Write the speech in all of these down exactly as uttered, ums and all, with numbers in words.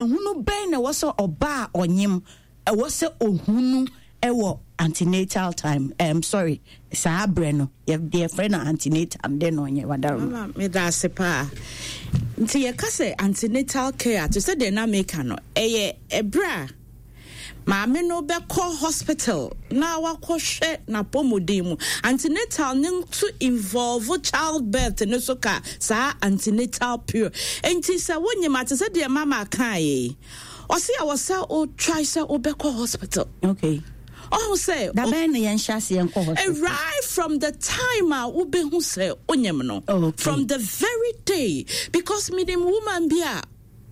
Hunu bɛn na ɛwɔ sɛ ɔbaa a ɔnyem ɛwɔ sɛ ohunu ɛwɔ antenatal time, um, sorry, saa berɛ no yɛfrɛ no antenatal dɛn na ɔnyɛ wadaro? Mama, meda ase paa. Nti yɛka sɛ antenatal care te sɛ deɛ na meka no, ɛyɛ ɛberɛ a maame no bɛkɔ hospital na wakɔhwɛ n'apɔmuden mu. Antenatal ne nso involve childbirth ne so ka saa antenatal period. Nti sɛ wonyim a, te sɛ deɛ mama kaa yi, ɔse a wɔ sɛ wo try sɛ wobɛkɔ hospital. Okay ɔho sɛ Dabɛn na yɛnhyɛ aseɛ nkɔ hospital? Right from the time a wobɛhu sɛ wonyim no. Oh, okay. From the very day, because menim woman bi a,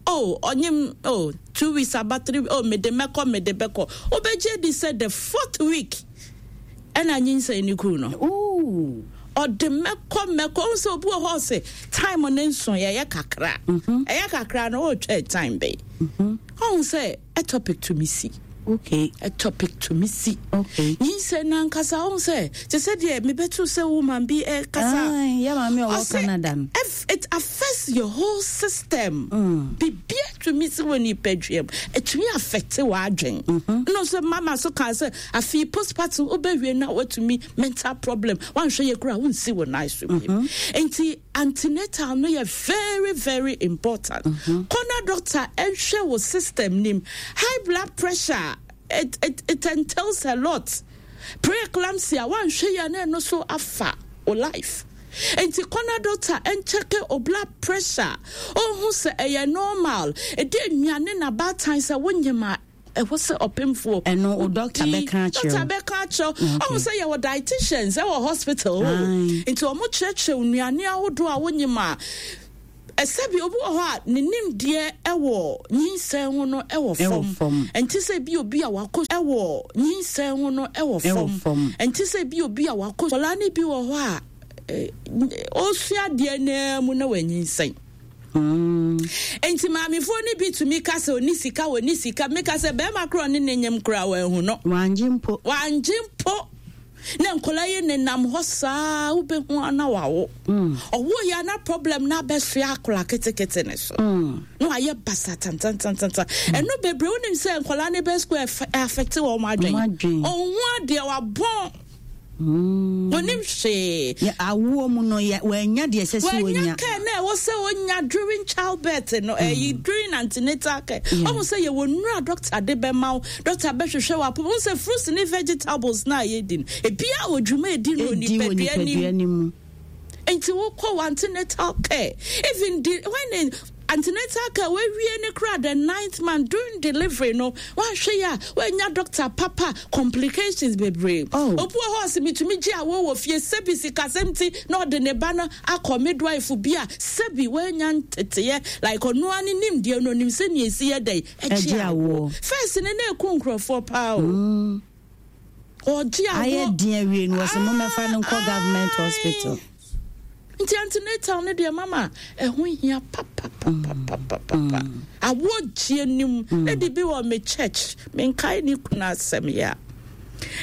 oh, ɔnyim, oh, two weeks aba, three, oh, mede mɛkɔ, mede bɛkɔ, wobɛgye di sɛ the fourth week ɛna nyinsɛn ne kuu no. Ooh. Ɔde mɛkɔ mɛkɔ, ɔhu sɛ obi wɔ hɔ sɛ time ne nso yɛyɛ kakra, ɛyɛ kakra no, ɔretwɛ time bɛyi, ɔhu sɛ ectopic tumi si. Okay ectopic tumi si. Okay nyinsɛn nankasa, ɔhu sɛ te sɛ deɛ mebɛto sɛ woman bi ɛkasa. Aye, yɛ maame a ɔwɔ Ɔsɛ Canada no. if it affects your whole system. Mm. Bibia tumi si wɔ nipadua mu, ɛtumi affect w'adwen no sɛ mama so kaa sɛ afei postpartum wobɛwie na watumi mental problem, wanhwɛ yɛ kora wonsi wɔ nan so bio. Nti antenatal no yɛ very very important. Kɔna doctor ɛnhwɛ wo system nim. High blood pressure, it, it, it entails a lot. Preeclampsia, wanhwɛ yɛ na ɛno so afa wo life. Nti kɔna doctor ɛnkyɛke o blood pressure, ɔhu sɛ ɛyɛ normal, ɛde nnuane na baatan sɛ wonyim a ɛwɔ sɛ ɔpemfoɔ Ɛno, wo doctor wodi. Bɛka akyerɛ wo. Doctor bɛka akyerɛ wo. Okay. Ɔhu sɛ yɛwɔ dietitians ɛwɔ hospital o. Aye. Nti ɔmo kyerɛkyerɛ wo nnuane ahodoɔ a wonyim a ɛsɛbi obi wɔ hɔ a ne nimdeɛ ɛwɔ nyinsɛn ho no ɛwɔ Ɛwɔ fam. Fam. Nti sɛ bi obi a wakɔ ɛwɔ nyinsɛn ho no ɛwɔ Ɛwɔ fam. Fam. Nti sɛ bi obi a wakɔ kɔlaa ne bi wɔ hɔ a eh, ɔsua adeɛ naa mu na wanyinsɛn. Mm. Nti maamefoɔ no bi tumi ka sɛ ɔni sika, ɔni sika. Meka sɛ bɛrima korɔ ne ne nyem koraa wanhu no. Wangye mpo. Wangye mpo na nkɔla yi nenam hɔ saa, wobɛhu ana wawo. Mm. Ɔwo yɛ ana problem na abɛsoa akɔla ketekete ne so Mm. na wayɛ basa tantantantanta. Ɛno bebree, wonim sɛ nkɔla ne bɛ school affect wɔn adwen. Wɔn adwen. Ɔnhu adeɛ, wabɔn. Mm. Onim hwee. Yɛ awoɔ mu no yɛ wanya deɛ ɛsɛ sɛ wanya wɔnya. Care na ɛwɔ sɛ onya during childbirth no, ɛyi during antenatal care. Yeah. Ɔmo sɛ yɛwɔ nnura doctor de bɛma wo, doctor bɛhwehwɛ wɔ apɔ ɔmo sɛ fruits ne vegetables na yɛdi no, ebia wɔ dwuma edi no ɛdi wɔ nipadua nim. Nipadua no mu. Nti wokɔ wɔ antenatal care, even the, when the antenatal care wawie ne kora, the ninth month during delivery no, wanhwɛ yi a wanya doctor papa, complications bebree. Oh. Obi wɔ hɔ ɔsɛ mitumi gye awo wɔ fie, sɛbi sikasɛm ti na ɔde ne ba no akɔ midwife bi a sɛbi wanya nteteyɛ, like ɔnoa ne nimdeɛ no, onim sɛ nea esi yɛ dɛ ɛgye awoɔ. First ne na eku nkurɔfoɔ paa o. Mm. Ɔgye awoɔ. Ayɛ den awie no, wɔsɛ mommɛfa no nkɔ government Aye. hospital. Nti antenatal no deɛ, mama, ɛho hia papapapapapa. Awoɔ gyie nim lady bi wɔ me church, menkae ne kunu asɛm yɛ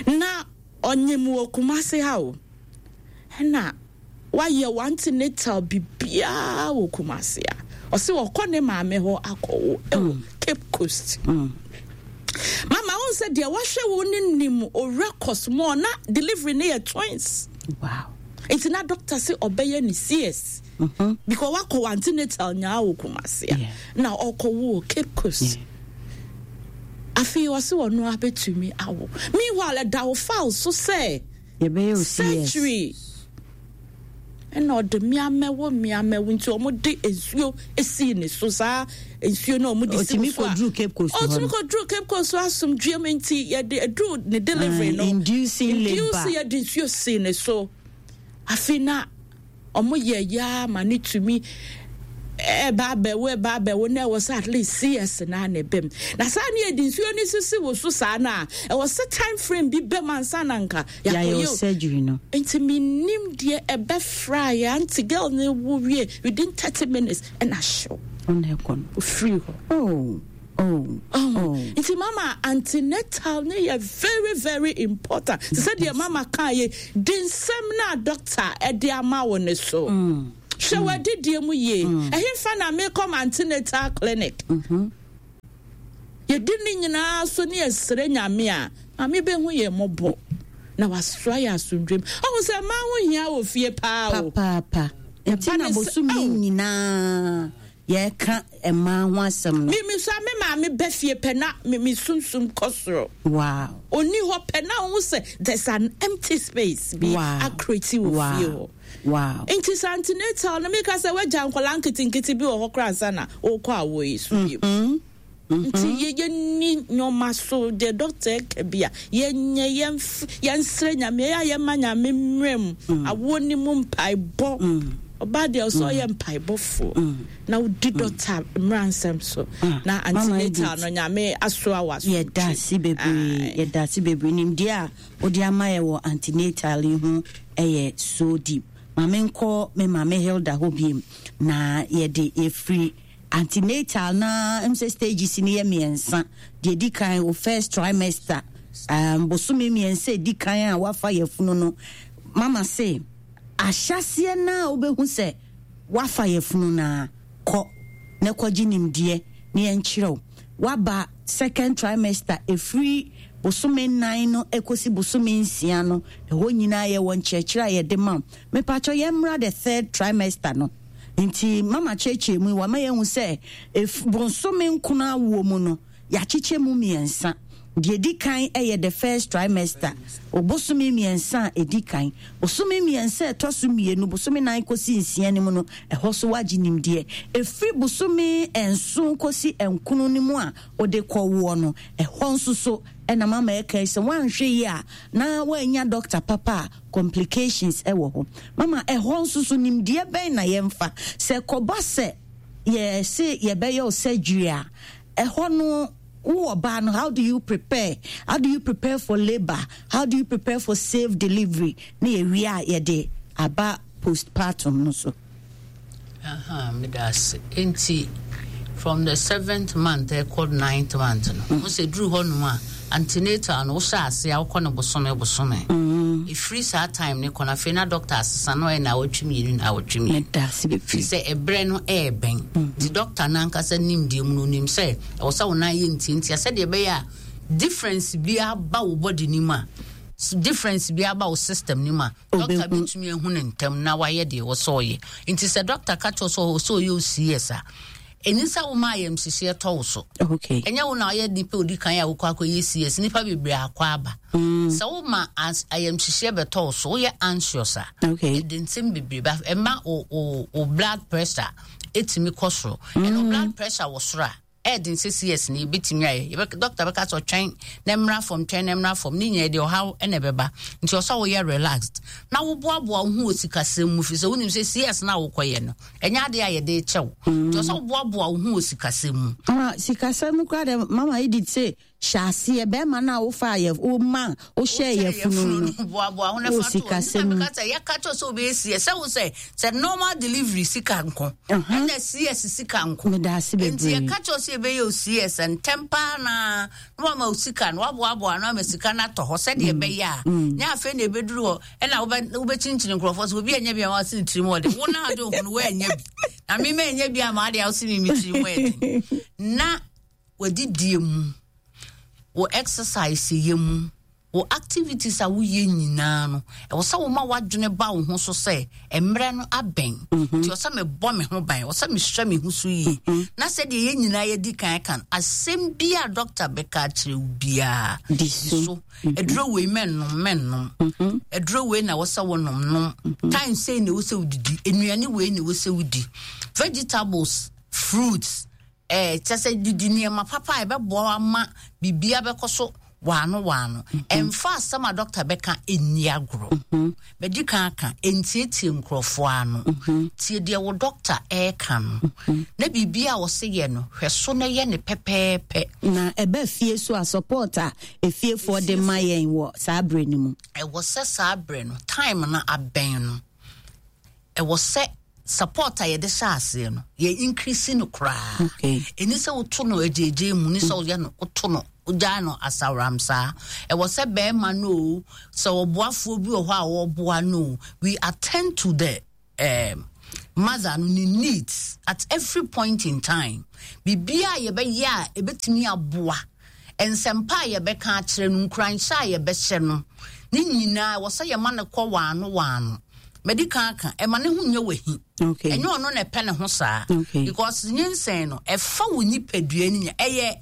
a na ɔnyem wɔ Kumase ha o, ɛna wayɛ wɔ antenatal bibiaa wɔ Kumase a ɔse ɔkɔ ne maame hɔ akɔwo ɛwɔ Cape Coast. Mama, wo sɛ deɛ wahwɛ wo ne nim o records mu na delivery ne yɛ twins. Wow nti na doctor sɛ ɔbɛyɛ ne C S Mhm. because wakɔ wɔ antenatal nyaa wɔ Kumase a Yeah. na ɔkɔwo wɔ Cape Coast. Yeah. Afei ɔse ɔno abɛtumi awo, meanwhile ɛda wo file so sɛ yɛbɛyɛ o C S. Surgery, ɛna ɔde mmeamɛwo mmeamɛwo, nti ɔmo de nsuo esii ne so, saa nsuo no ɔmo de si Ɔtumi so a kɔduru Cape Coast hɔ ɔtumi no. kɔduru Cape Coast so asomdue mu, nti yɛde eduru ne delivery Ah, no inducing labour. Induce, yɛde nsuo sii ne so. Afei na ɔmo yɛ yaa ma ne tumi ɛba abɛwo, ɛba abɛwo na ɛwɔ sɛ at least C S na na ɛbɛm na saa ne yɛde nsuo no sisi wo so saa na ɛwɔ sɛ time frame bi bɛm ansa na nka yɛayɛ yɛakɔyɛ o o surgery no. Nti menim deɛ ɛbɛfra yɛ aunty girl ne wo wie, within thirty minutes ɛna hyew. Ɔna ɛkɔ no. Ofiri hɔ. oh oh Oh. Oh. Nti mama, antenatal ne yɛ very very important. Te sɛ deɛ mama kaa yɛ de nsɛm na doctor ɛde ama wo ne so. Mm. Hwɛ w'adidie mu yie. Ɛhemfa na mekɔ antenatal clinic? Mhm. Yɛdi ne nyinaa so ne yɛsrɛ Nyame a, Maame bɛhu yɛn mmɔbɔ na wasoa yɛ asomdwem. Ɔhu sɛ mmaa ho hia wɔ fie paa o. Papaapa. Nti na bosome nyinaa yɛka mmaa ho asɛm no. Me me so a me maame bɛ fie pɛ na me me sunsum kɔ soro. Wow. Onni hɔ pɛ na ɔhu sɛ there's an empty space bi Wow. akreti wɔ Wow. fie hɔ. Wow. Nti sɛ antenatal no, meka sɛ woagya nkɔlaa nketenkete bi wɔ hɔ koraa ansa na wokɔ awoɔ yi so bio. Nti yɛ yɛnni nneɛma so deɛ doctor ɛka bi a, yɛnyɛ, yɛnf yɛnsrɛ Nyame, ɛyɛ a yɛma Nyame mmerɛ mu awoɔ ne mu mpaebɔ. Ɔbaa deɛ ɔsɛ ɔyɛ mpaebɔfoɔ na wodi doctor mmara nsɛm so na Mama antenatal Edith. no, Nyame asoa wɔ Yɛda ase bebree, yɛda ase bebree. Nimdeɛ a wode ama yɛ wɔ antenatal yi ho ɛyɛ so deep. Maame, nkɔ me maame Hilda hɔ biem na yɛde yɛfiri antenatal na m sɛ stages no yɛ mmiɛnsa. Deɛ di kan, wo first trimester, um, bosome mmiɛnsa edi kan a wafa yɛfunu no. Mama se ahyɛseɛ na wobɛhu sɛ wafa yɛfunu na kɔ na kɔgye nimdeɛ na yɛnkyerɛw. Waba second trimester, ɛfiri bosome nnan no ɛkɔsi bosome nsia no, ɛhɔ nyinaa yɛwɔ nkyerɛkyerɛ a yɛde ma wo. Mepakyɛ, yɛmmra the third trimester no. Nti mama kyerɛkyerɛ mu yi, wama yɛhu sɛ ɛf- bosome nkono awoɔ mu no, yɛakyekyɛ mu mmiɛnsa. Deɛ di kan yɛ the first trimester, bosome mmiɛnsa a ɛdi kan. Bosome mmiɛnsa a ɛtɔ so mmienu, bosome nan kɔsi nsia no mu no, ɛhɔ so wagye nimdeɛ. Ɛfiri bosome nson kɔsi nkono no mu a wode kɔwoɔ no, ɛhɔ nso so ɛna mama ɛka yi sɛ woanhwɛ yi a na woanya doctor papa a, complications ɛwɔ hɔ. Mama, ɛhɔ nso so nimdeɛ bɛn na yɛmfa sɛ kɔba sɛ yɛse yɛbɛyɛ wo surgery a, ɛhɔ no wowɔ baa no, how do you prepare? How do you prepare for labour? How do you prepare for safe delivery? Ne yɛwie a, yɛde aba postpartum no so. Aha, meda ase. Nti from the seventh month ɛkɔ ninth month no, wo sɛ duru hɔ nom a, antenatal no wohyɛ ase a, wokɔ no bosome bosome. Ɛfiri saa time ne kɔ no, afei na doctor asesa no, ɔyɛ na awɔtwe mmienu na awɔtwe mmienu. Meda ase firi bebree. Sɛ ɛberɛ no ɛɛbɛn nti, doctor no ankasa nimdeɛ mu no, onim sɛ ɛwɔ sɛ wo nan yɛ ntiantia sɛdeɛ ɛbɛyɛ a difference bi aba wo body no mu a s- difference bi aba wo system no mu a, doctor Ɔbɛhu. bɛtumi ahu ne ntɛm na wayɛ deɛ ɛwɔ sɛ ɔyɛ. Nti sɛ doctor ka kyerɛ wo sɛ ɔwɔ sɛ ɔyɛ wo C S a, ɛni sɛ woma ayamhyehyeɛ tɔ wo so. Okay ɛnyɛ wo na ɔyɛ nipa odi kan a wokɔ akɔyɛ C S. Nipa bebree akɔ aba. Sɛ woma as- ayamhyehyeɛ bɛtɔ wo so, woyɛ anxious a, Okay. ɛde nsɛm bebree ba. Ɛma wo wo wo blood pressure ɛtumi kɔ soro. Ɛna wo blood pressure wɔ soro a, ɛɛde nsɛ C S no yɛbɛtumi ayɛ. Yɛbɛ- doctor bɛka sɛ ɔtwɛn na mmra fam, twɛn na mmra fam. Ne nyinaa deɛ, ɔhaw ɛna ɛbɛba. Nti ɔsɛ woyɛ relaxed na woboaboa wo ho wɔ sikasɛm mu, fi sɛ wonim sɛ C S no a wokɔyɛ no, ɛnyɛ adeɛ a yɛde kyɛw. Nti ɔsɛ woboaboa wo ho wɔ sikasɛm mu. Mama, sikasɛm koraa dɛ, Mama Edith sɛ hyɛ aseɛ bɛrima no a wofa yɛ woma wohyɛ yɛfunu no. Boaboa ho na wɔ fa to hɔ. sikasɛm mu. Nti na meka sɛ yɛka kyerɛ sɛ wobɛyɛ C S, sɛ wo sɛ sɛ normal delivery sika nko, Aha. ɛna C S sika nko. Meda ase nti bebree. Yɛka kyerɛ sɛ yɛbɛyɛ o C S ntɛm paa na na wama wo sika no, waboaboa no ama sika no atɔ hɔ sɛdeɛ ɛbɛyɛ a nyɛ afei na ɛbɛduru hɔ ɛna wobɛ- wobɛkyinkyini nkurɔfoɔ sɛ obi anya bi a wase ne tirim ɔde wo na ade wo ho no woanya bi na mema anya bi ama ade a wose me me tirim ɛden. Na wadidie mu, wo exercise yɛ mu, wo activities a woyɛ nyinaa no, ɛwɔ sɛ woma w'adwene ba wo ho so sɛ mmerɛ no abɛn, nti ɛwɔ sɛ mebɔ me ho ban, ɛwɔ sɛ mehwɛ me ho so yie. Na sɛdeɛ yɛn nyinaa yɛdi kan ka no, asɛm bi a doctor bɛka akyerɛ wo biara, di so. So aduro wei mɛnnom, mɛnnom aduro wei na ɛwɔ sɛ wonom nom time sei na ɛwɔ sɛ wodidi nnuane wei na ɛwɔ sɛ wodi vegetables, fruits, ɛɛ kyɛ sɛ didi nneɛma papa a ɛbɛboa wo ama biribia bɛkɔ so waano waano. Ɛmfa asɛm a doctor bɛka ɛnni agorɔ. Bɛdi kan aka, ɛntietie nkurɔfoɔ ano. Tie deɛ wo doctor ɛɛka no, na biribi a wɔse yɛ no, hwɛ so na yɛ ne pɛpɛɛpɛ. Na ɛbɛ fie so a, support a efiefoɔ de ma yɛn wɔ saa berɛ no mu? Ɛwɔ sɛ saa berɛ no, time no abɛn no, ɛwɔ sɛ support a yɛde hyɛ aseɛ no, yɛ increase no koraa. Okay. Ɛni sɛ woto no agyegye mu ni sɛ woyɛ no, woto no, wogyaa no asaworam saa. Ɛwɔ sɛ bɛrima no o, sɛ ɔboafoɔ bi wɔ hɔ a wɔboa no o, we attend to the um, Mother no ne needs at every point in time, biribiaa a yɛbɛyɛ a ɛbɛtumi aboa, nsɛmpa a yɛbɛka akyerɛ no, nkuranhyɛ a yɛbɛhyɛ no, ne nyinaa ɛwɔ sɛ yɛma no kɔ waano waano. Mɛdi kan aka, ɛma ne ho nyɛ wahi. Okay. Ɛnyɛ ɔno na ɛpɛ ne ho saa. Okay. Because nyinsɛn no, ɛfa wo nipadua no nya, ɛyɛ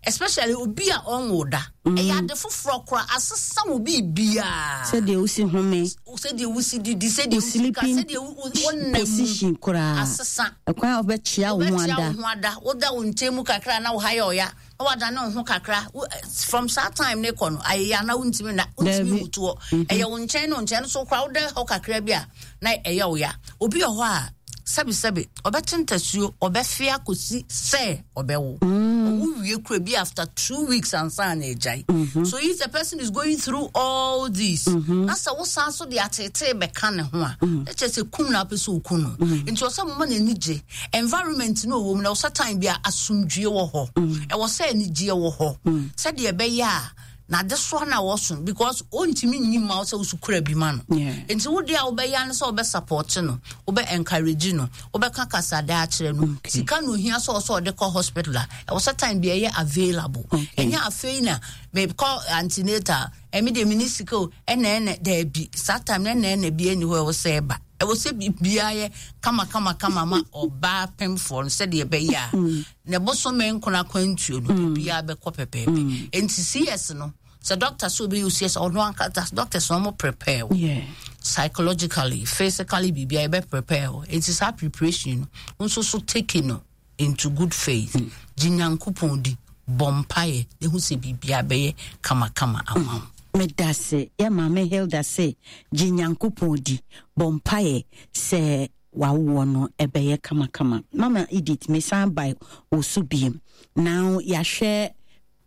especially obi a ɔnwo da, ɛyɛ ade foforɔ koraa, asesa wo biribiaa. Sɛdeɛ wosi home, sɛdeɛ wosi didi, sɛdeɛ wo wosi ka, sleeping sɛdeɛ wo- wo- wonam mu position koraa, asesa. Ɛkwan a wobɛkyea wo ho wobɛkyea ada. Wo ho ada, woda wo nkyɛn mu kakra na wo ha yɛ ɔya, na wadane wo ho kakra. Wo- eh, from saa time ne kɔ no, ayɛyɛ ana wontumi na wontumi Dabi. mutoɔ. Ɛyɛ wo nkyɛn ne wo nkyɛn no so koraa, woda hɔ kakra bi a na ɛyɛ wo ya. Obi wɔ hɔ a, sɛbesɛbe, ɔbɛte ntasuo, ɔbɛfe akɔsi sɛ ɔbɛwo. Ɔwo wie kura bi, after two weeks ansa na agyae. So if the person is going through all this na sɛ wosan so de atetee bɛka ne ho a, na kyerɛ sɛ kum na apɛ sɛ oku no. Nti ɔsɛ moma n'ani gye environment no ɔwɔ mu, na ɔsɛ time bi a asomdwie wɔ hɔ, ɛwɔ sɛ anigyeɛ wɔ hɔ, sɛdeɛ ɛbɛyɛ a n'adesoa no a wɔso, because ɔntumi nyi ma wo sɛ woso kura bi ma no. Yeah. Nti wo deɛ a wobɛyɛ ne sɛ wobɛ support no, wobɛ encourage no, wobɛka kasada akyerɛ no. Okay. Sika no ohia sɛ ɔsɛ ɔde kɔ hospital a, ɛwɔ sɛ time bi ɛyɛ available. Okay. Ɛnyɛ afei na mekɔ antenatal, ɛmi deɛ meni sika o, ɛna ɛna daabi, saa time no ɛna ɛna bi ɛni hɔ. Ɛwɔ sɛ ɛba, ɛwɔ sɛ biribiara yɛ kama kama kama ma ɔbaa pemfoɔ no, sɛdeɛ ɛbɛyɛ a ne bosome nkona akwantuo no, biribiara bɛkɔ pɛpɛɛpɛ. Nti C S no, sɛ doctor sɛ obɛyɛ C S, ɔno ankasa, doctors no, ɔmo prepare wo Yeah. psychologically, physically, biribiara yɛbɛ prepare wo. Nti saa preparation no nso so, take no into good faith, gye Nyankopɔn di, bɔ mpaeɛ na ehu sɛ biribiara bɛyɛ kamakama ama wo. Meda se yɛ Maame Hilda se gye Nyankopɔn di, bɔ mpaeɛ sɛ wawoɔ no ɛbɛyɛ kamakama. Mama Edith, mesan ba wo so biem. Now yɛahwɛ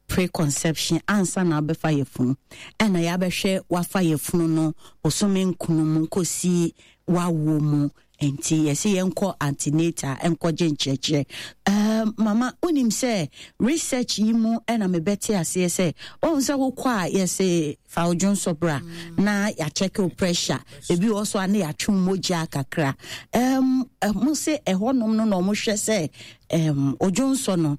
preconception, ansa na wabɛfa yɛfunu, ɛna yɛabɛhwɛ wafa yɛfunu no bosome nkunu mu kɔsi wawoɔ mu. Nti yɛsɛ yɛnkɔ antenatal, ɛnkɔgye nkyerɛkyerɛ. um, mama wonim sɛ research yi mu ɛna mebɛte aseɛ sɛ ɔhu sɛ wokɔ a, yɛsɛ fa wo dwonsɔ bra na yɛakyɛke wo pressure, ebi wɔ so a na yɛatwe wo mogya kakra. um, mo sɛ ɛhɔnom no na ɔmohwɛ sɛ um, odwonsɔ no,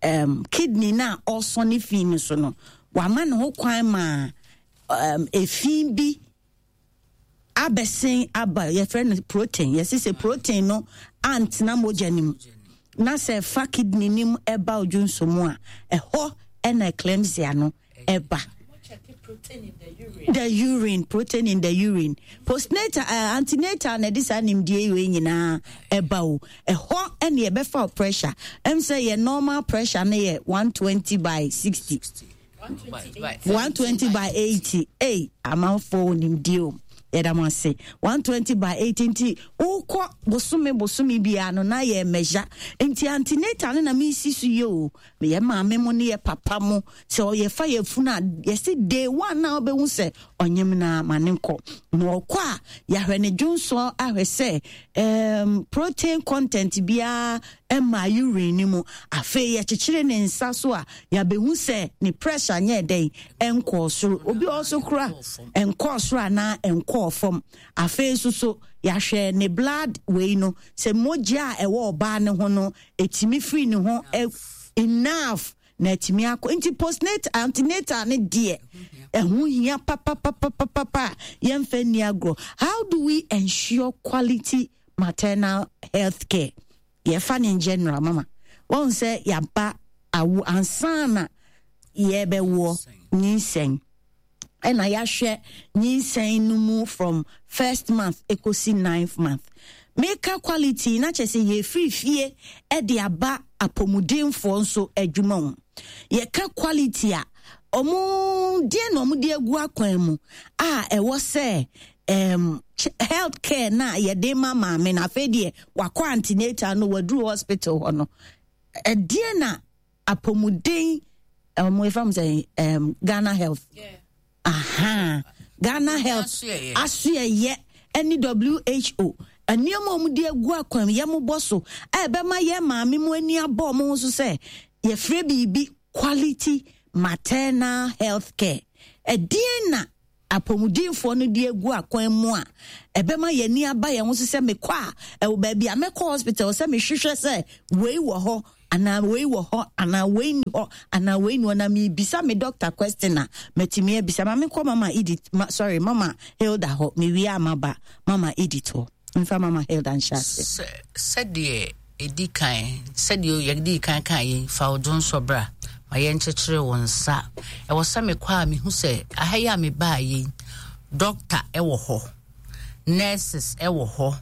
um, kidney no a ɔsɔ ne fi no so no, wama ne ho kwan ma um, efi bi abɛsen aba. Yɛfrɛ no protein. Yɛse sɛ protein no antena mogya no mu na sɛ ɛfa kidney no mu ɛba odwonso mu a, ɛhɔ ɛna eclampsia no ɛba. The urine, protein in the urine. Postnatal, uh, antenatal na ɛde saa nimdeɛ wei nyinaa ɛba o. Ɛhɔ ɛne ɛbɛfa wo pressure. Ɛm sɛ yɛ normal pressure no yɛ one twenty by sixty, one twenty by eighty. Ei, amanfoɔ wɔ nimdeɛ o, yɛda mo ase. one twenty by eighty. Nti wokɔ bosome bosome biara no na yɛ measure. Nti antenatal no na mesi so yɛ o. Yɛ maame mo ne yɛ papa mo, sɛ ɔyɛfa yɛ funu a, yɛsi day one na wobɛhu sɛ ɔnyem na ma ne nkɔ na ɔkɔ a, yɛahwɛ ne dwonsɔ ahwɛ sɛ um, protein content biara ɛma urine no mu. Afei yɛkyekyere ne nsa so a, yɛabɛhu sɛ ne pressure nyɛ dɛn, ɛnkɔɔ soro. Obi wɔ so kora ɛnkɔɔ soro anaa ɛnkɔɔ fam. Afei nso so yɛahwɛ ne blood wei no, sɛ mogya a ɛwɔ ɔbaa ne ho no ɛtumi firi ne ho enough na atumi akɔ. Nti postnatal, antenatal ne deɛ, ɛho hia papapapapapa a yɛmfa nni agorɔ. How do we ensure quality maternal health care? Yɛfa ne in general, mama wɔn sɛ yɛaba awo ansa na yɛbɛwoɔ, nyinsɛn, ɛna yɛahwɛ nyinsɛn no mu from first month ekosi ninth month. Meka quality na kyerɛ sɛ yɛfiri fie ɛde aba apɔmudenfoɔ nso adwuma mu. Yɛka quality a, ɔmo deɛ na ɔmo de agu akwan mu a ɛwɔ sɛ um, health care na yɛde ma maame no, afei deɛ wakɔ antenatal no, waduru hospital hɔ no, ɛdeɛ na apɔmuden ɔmo efa mo sɛ um, Ghana Health, yeah. Aha, Ghana Health asoɛyɛ ɛne W H O nneɛma a wɔde agu akwan mu yɛ mo bɔ so a ɛbɛma yɛ maame mu ani abɔ ɔmo ho so sɛ yɛfrɛ biribi quality maternal health care, ɛdeɛn na Apɔmudinfoɔ no de agu akwan mu a ɛbɛma yɛni aba yɛn ho so sɛ mekɔ a, ɛwɔ baabi a mɛkɔ hospital sɛ mehwehwɛ sɛ wei wɔ hɔ anaa wei wɔ hɔ anaa wei ni hɔ anaa wei ni hɔ, na mebisa me doctor question a matumi abisa. Ma menkɔ Mama Edith, ma, sorry, Mama Hilda hɔ. Mewie a maba Mama Edith hɔ. Mfa Mama Hilda nhyɛ ase. Sɛdeɛ ɛdi kan, sɛdeɛ yɛdi kan kan yɛn fa wo dwonsɔ bra ma yɛnkyekyere wo nsa. Ɛwɔ sɛ mekɔ a mehu sɛ aha yi a mebaa yi, doctor ɛwɔ hɔ, nurses ɛwɔ hɔ,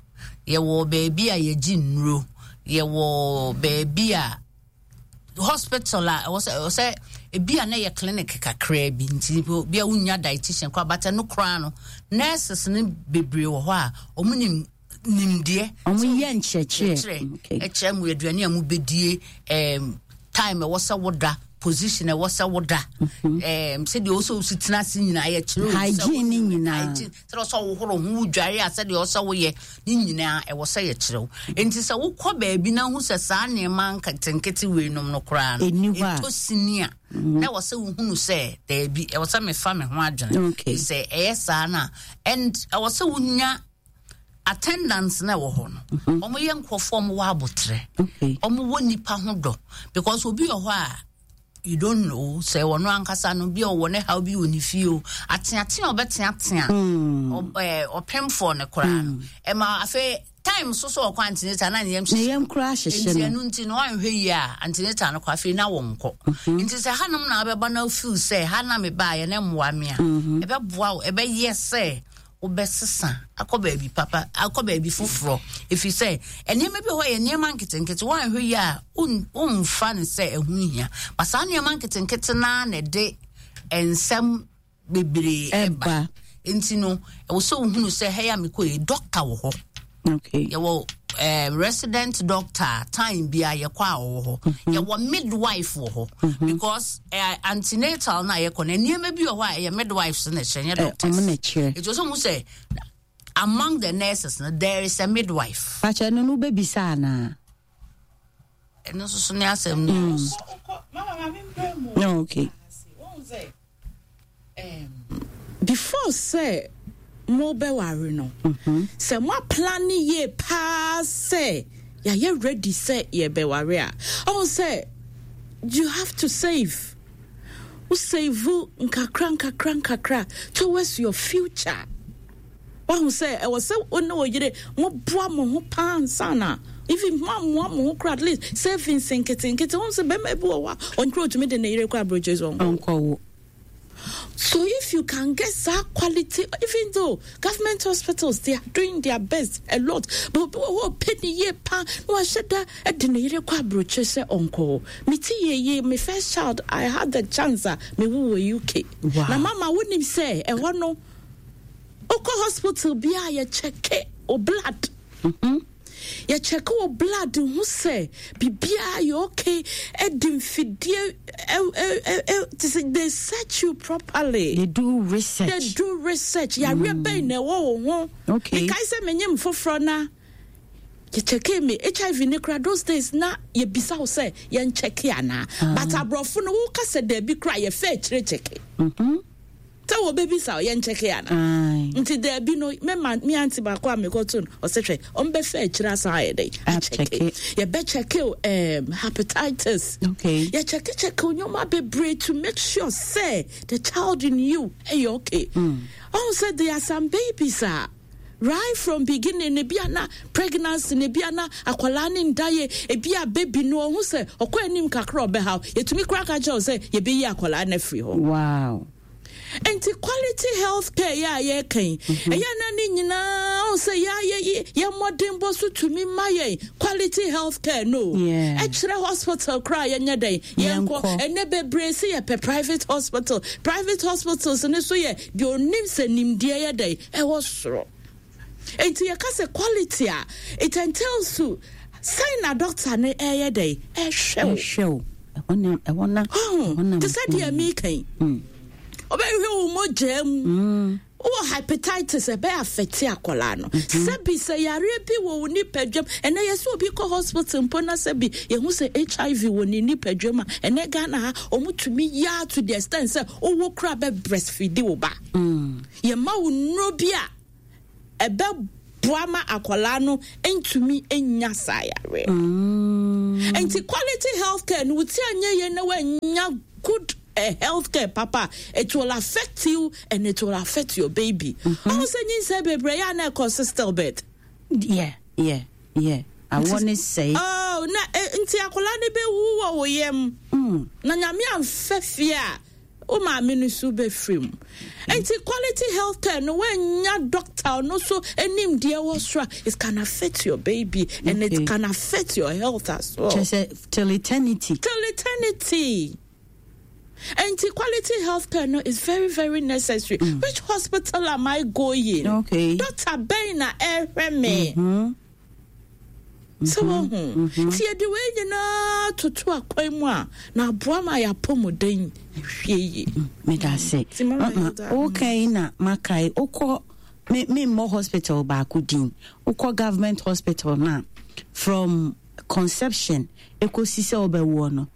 yɛwɔ baabi a yɛgye nnuro, yɛwɔ baabi a hospital a ɛwɔ sɛ ɛwɔ sɛ ebi a na yɛ clinic kakraa bi, nti bi a wonya dietitian koraa, but ɛno koraa no, nurses no bebree wɔ hɔ a wɔn nim nimdeɛ. Ɔmo yɛ nkyerɛkyerɛ. Ɛkyerɛ mu aduane a mobɛdie, um, time ɛwɔ sɛ woda, position ɛwɔ sɛ woda, um, sɛdeɛ ɔwɔ sɛ wosi tena ase nyinaa yɛkyerɛ. Hygiene ne nyinaa. Hygiene, sɛdeɛ ɔsɛ wohoro ho, wodware a, sɛdeɛ ɔsɛ woyɛ ne nyinaa ɛwɔ sɛ yɛkyerɛ wo. Nti sɛ wokɔ baabi na hu sɛ saa nneɛma nketenkete weinom no koraa no ɛni hɔ a, ɛtɔ sini a, na ɛwɔ sɛ wohunu sɛ daabi, ɛwɔ sɛ mefa me ho adwene. Okay. Sɛ ɛyɛ saa no a, and ɛwɔ sɛ wonya attendance na ɛwɔ hɔ no, ɔmo yɛ nkurɔfoɔ, ɔmo wɔ abotrɛ, Okay. ɔmo wɔ nipa ho dɔ, because obi wɔ hɔ a you don't know sɛ ɔno ankasa no bi a ɔwɔ ne haw bi wɔ ne fie o, ateatea a ɔbɛteatea ɔ- ɛɛ, ɔpemfoɔ no koraa no, ɛma afei time so so ɔkɔ antenatal na ne yam ne hyehyɛ. Yam koraa hyehyɛ. Nti No. ɛno nti no, wanhwɛ yie a, antenatal no kɔ, afei na wɔnkɔ. Nti sɛ hanom na wabɛba na feel sɛ ha na mebaeɛ na mmoa me a, ɛbɛboa wo, ɛbɛyɛ sɛ wobɛsesa akɔ baabi papa, akɔ baabi foforɔ, ɛfiri sɛ nneɛma bi wɔ hɔ yɛ nneɛma nketenkete, woanhwɛ yie a won- womfa no sɛ ɛho hia, ba saa nneɛma nketenkete naa na ɛde nsɛm bebree ɛba. Ɛba. Nti no ɛwɔ sɛ wohunu sɛ ha yi a mekɔ yi, doctor wɔ hɔ. Okay. Yɛwɔ eh, resident doctor, time bi a yɛkɔ a ɔwɔ hɔ. Yɛwɔ midwife wɔ hɔ, because eh, antenatal na yɛkɔ no, nneɛma bi wɔ hɔ a ɛyɛ midwives na ɛhyɛ, nyɛ Eh, doctors. Ɔmo na kyerɛ. Ɛti sɛ mu sɛ among the nurses no, there is a midwife. Pakyɛ no no wobɛbisa anaa? Ɛno nso so ne asɛm no. No, okay. Before sɛ mobɛware no, sɛ moaplan yie paa sɛ yɛayɛ ready sɛ yɛbɛware a, ɔhu sɛ you have to save. Wo save nkakra nkakra nkakra towards your future. Wahu sɛ ɛwɔ sɛ wo ne wo yere moboa mo ho paa nsa na even mo amoa mo ho kora, at least savings nketenkete. Wohu sɛ bɛrima bi wɔ hɔ a ɔnkora otumi de ne yere kɔ aburokyi so ɔnkɔ. Ɔnkɔwo. So if you can get that quality, even though government hospitals, they are doing their best a lot, but oh, penny ye pa no I said that at the yere kwa aburokyi sɛ ɔnkɔ. Me ti ye ye my first child, I had the chance a me wo wɔ U K. Wow. Na mama wonim sɛ ɛhɔ no wokɔ hospital bi a yɛkyɛke o blood. Yɛkyɛke wo blood ho sɛ biribiaa yɛ okay, ɛde mfidie ɛ- ɛ- ɛ- ɛ- te sɛ they search you properly. They do research. They do research, yareɛ bɛn na ɛwɔ wo ho. Okay. Mekae sɛ menyem foforɔ na yɛkyɛke me H I V ne kora, those days na yɛbisa wo sɛ yɛnkyɛke anaa, but aborɔfo no woka sɛ daabi kora, yɛfɛ akyire kyɛke sɛ wɔbɛbisa wo yɛnkyɛke anaa. Aye. Nti daabi no, mema me aunty baako a mekɔto no, ɔsɛ hwɛ ɔmbɛfɛ akyire asan ayɛ dɛn. Akyɛke. Yɛbɛkyɛke wo um, hepatitis. Okay. Yɛkyɛkekyɛke wo nneɔma bebree to make sure sɛ the child in you ɛyɛ okay. Ɔhu sɛ there are some babies a right from beginning ne bi ana pregnancy ne bi ana akwadaa ne nda yɛ, ebi a baby no ɔhu sɛ ɔkɔ anim kakra ɔbɛhaw, yɛtumi kora ka kyerɛ wo sɛ yɛbɛyi akwadaa no afiri hɔ. Wow. Nti quality health care yɛ a yɛreka yi, ɛyɛ na ne nyinaa ɔhu sɛ yɛayɛ yɛ mmɔdenbɔ so tumi ma yɛn quality health care no. Yeah. Ɛkyerɛ hospital koraa yɛnyɛ dɛn? Yɛnkɔ. Yɛnkɔ. Ɛnɛ bebree sɛ yɛpɛ private hospital. Private hospitals ne so yɛ deɛ onim sɛ nimdeɛ yɛ dɛn ɛwɔ soro. Nti yɛka sɛ quality a, it entails to sɛn na doctor no ɛyɛ dɛn ɛhwɛ wo. Ɛhwɛ wo. Ɛhɔ na ɛhɔ na ɛhɔ na te sɛ deɛ meka yi, ɔbɛhwɛ wo mogyaa mu. Wowɔ hepatitis, ɛbɛyɛ affect akwadaa no. Sɛbi, sɛ yareɛ bi wɔ wo nipadwam, ɛnɛ yɛ sɛ obi kɔ hospital mpo na sɛbi yɛhu sɛ H I V wɔ ne nipadwam a, ɛnɛ Ghana ha ɔmotumi yaa to the extent sɛ wowɔ kora bɛ breastfeed wo ba. Yɛma wo nnuro bi a ɛbɛboa ma akwadaa no ntumi nya saa yareɛ. Nti quality healthcare no, woti anyɛ yie na woanya good uh, healthcare papa, it will affect you and it will affect your baby. Ɔmo sɛ nyinsɛn bebree yɛ a na ɛkɔ stillbirth. yeah yeah yeah awɔ ne sɛe. Oh, na eh, nti akwadaa no bɛwu wɔ wo yam Mm. na Nyame amfɛ fie a wo maame no so bɛfiri mu. Nti quality healthcare no, woanya doctor no so anim deɛ wɔ soro a, it can affect your baby and Okay. it can affect your health as well. Kyerɛ sɛ till eternity. Till eternity. Nti quality healthcare no is very, very necessary. Which hospital am I going? Okay. Doctor bɛn na ɛhwɛ me? Sɛ wahu, nti yɛde wei nyinaa toto akwan mu a, na aboa ma yɛapɔmuden hwie yie. Meda ase. Nti Mama Mama, Hilda, wokai na makae, wokɔ me memmɔ hospital baako din, wokɔ government hospital no a, from conception ɛkɔsi sɛ wobɛwoɔ no,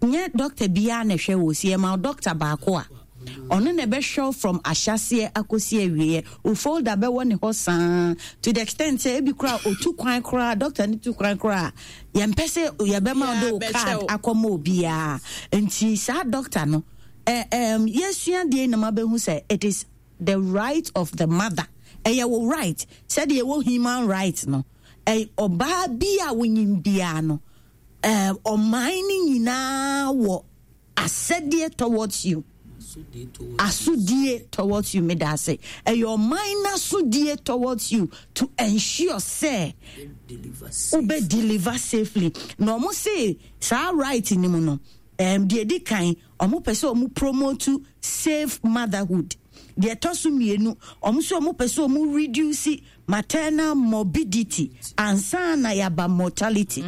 nyɛ doctor biara na ɛhwɛ wo. Si yɛma wo doctor baako a ɔno na ɛbɛhwɛ wo from ahyɛseɛ akɔsi awieɛ. Wo folder bɛwɔ ne hɔ saa to the extent sɛ ebi koraa ɔtu kwan koraa, doctor no tu kwan koraa, yɛmpɛ sɛ yɛbɛma wo de wo Yeah, card bɛkyɛ wo. Akɔma obiara. Nti saa doctor no, eh, um, yɛsua deɛ na mabɛhu sɛ it is the right of the mother. Ɛyɛ wo right sɛdeɛ ɛwɔ human right no. Ɛ ɔbaa bi a wonyim biara no, eh, ɔman no nyinaa wɔ asɛdeɛ towards you, asodie towards you. Meda ase. Ɛyɛ ɔman n'asodie towards you to ensure sɛ wobɛ deliver safely. Na ɔmo se saa right ni mu no, um, deɛ di kan, ɔmo pɛ sɛ ɔmo promote safe motherhood. Deɛ ɛtɔ so mmienu, ɔmo sɛ ɔmo pɛ sɛ ɔmo reduce maternal morbidity ansa na yaba mortality.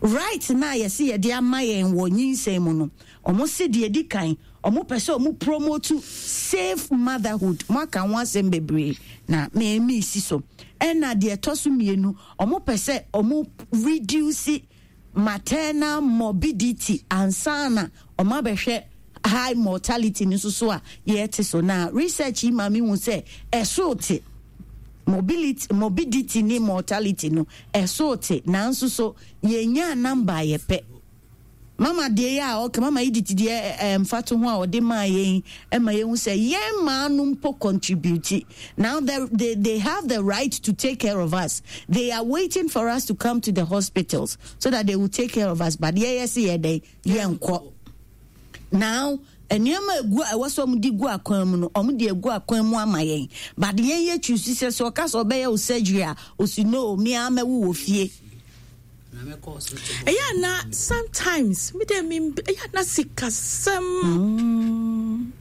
Right na yɛsi yɛde ama yɛn wɔ nyinsɛn mu no, ɔmo si deɛ di kan, ɔmo pɛ sɛ ɔmo promote safe motherhood. Mo aka ho asɛm bebree na mɛmi si so. Ɛna deɛ ɛtɔ so mmienu, ɔmo pɛ sɛ ɔmo reduce maternal morbidity ansa na ɔmo abɛhwɛ high mortality no nso so a yɛte so. Na research yi ma mi hu sɛ ɛso te mobility, morbidity ne mortality no ɛso te, nanso so yɛnya number a yɛpɛ. Mama deɛ yɛ a ɔka mama yi diti deɛ ɛɛ mfato ho a ɔde maa yɛn, ɛma yɛn hu sɛ yɛn mmaa no mpo contribute. Now they, they they have the right to take care of us. They are waiting for us to come to the hospitals so that they will take care of us, but yɛyɛ si yɛ dɛn, yɛn kɔ. Now nneɛma egu a ɛwɔ sɛ ɔmo de gu akwan mu no, ɔmo de egu akwan mu ama yɛn, but yɛn yɛ choose sɛ sɛ ɔka sɛ ɔbɛyɛ o surgery a, osi no, mi amɛwo wɔ fie. Ɛyɛ ana sometimes mi de mi ɛyɛ ana sikasɛm,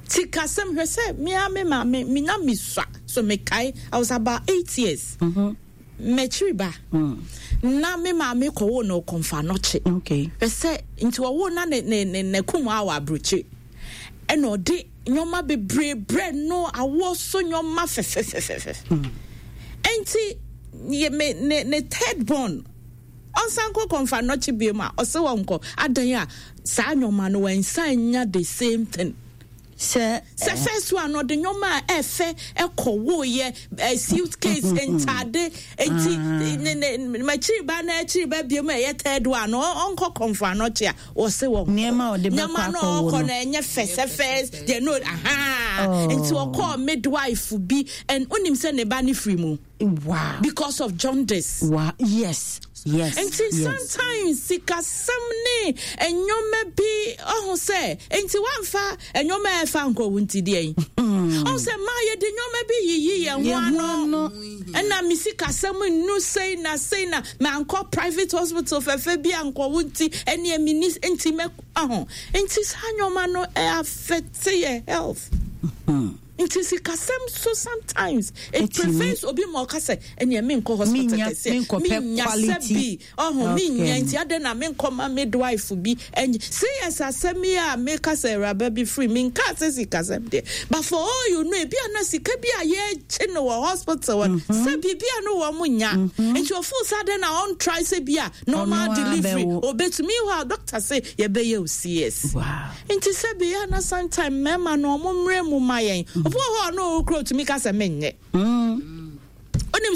sikasɛm. Hwɛ sɛ mi a mi maame mi na mi sua so, mi kae I was about eight years, mɛkyiri ba na me maame kɔwɔ no Kɔmfo Anɔkye. Okay hwɛ sɛ nti ɔwɔ na ne ne ne ne kum a wɔ aburokyi, ɛna ɔde nneɛma bebree brɛ no, awoɔ so nneɛma fɛfɛfɛfɛ. Nti yɛ me ne ne third born, ɔnsan kɔ Kɔmfo Anɔkye bio mu a, ɔsɛ wɔn nkɔ adan a saa nneɛma no wɔnsan nya the same thing. Sɛ sɛ first one, ɔde nneɛma a ɛfɛ ɛkɔ woyɛ ɛ suitcase, ntaade. Nti ne ne makyiri ba na akyiri ba bio mu a ɛyɛ third one no, ɔnkɔ Kɔmfo Anɔkye a, wɔse wɔ Nneɛma a ɔde bɛkɔ nneɛma no akɔwo ɔkɔ no. No ɛnyɛ fɛ sɛ first deɛ no aha. Oh. Nti ɔkɔɔ midwife bi and onim sɛ ne ba ne firi mu wow because of jaundice. wow yes yes Nti yes. sometimes sikasɛm ne nneɛma bi ɔho sɛ nti wamfa nneɛma a ɛfa nkɔwo nti deɛ yi ɔho sɛ maa yɛde nneɛma bi yiyi yɛn ho Yɛn ho ano. ano. Ɛna me sikasɛm nnu sei na sei na mankɔ private hospital fɛfɛ bi ankɔwo, nti ɛneɛ meni nti mɛ ɔho. Nti saa nneɛma no ɛ affect yɛ health. Nti sikasɛm so sometimes it prevents obi ma ɔka sɛ ɛneɛ menkɔ hospital kɛseɛ, menya sɛ bi ɔho menya, nti adɛn na menkɔ ma midwife bi ɛnyɛ C S asɛm yi a meka sɛ awuraba bi firi menka sɛ sikasɛm deɛ, but for all you know, ebi a na sika bi a yɛgye no wɔ hospital hɔ sɛ biribi a no wɔ mo nya, nti ɔfo sɛ adɛn na ɔntry sɛ bi a normal delivery obetumi hɔ a doctor sɛ yɛbɛyɛ o C S. Nti sɛ bi a na sometime mmarima no ɔmo mmerɛ mu ma yɛn, obi wɔ hɔ a ɔno ɔkura otumi ka sɛ menyɛ, onim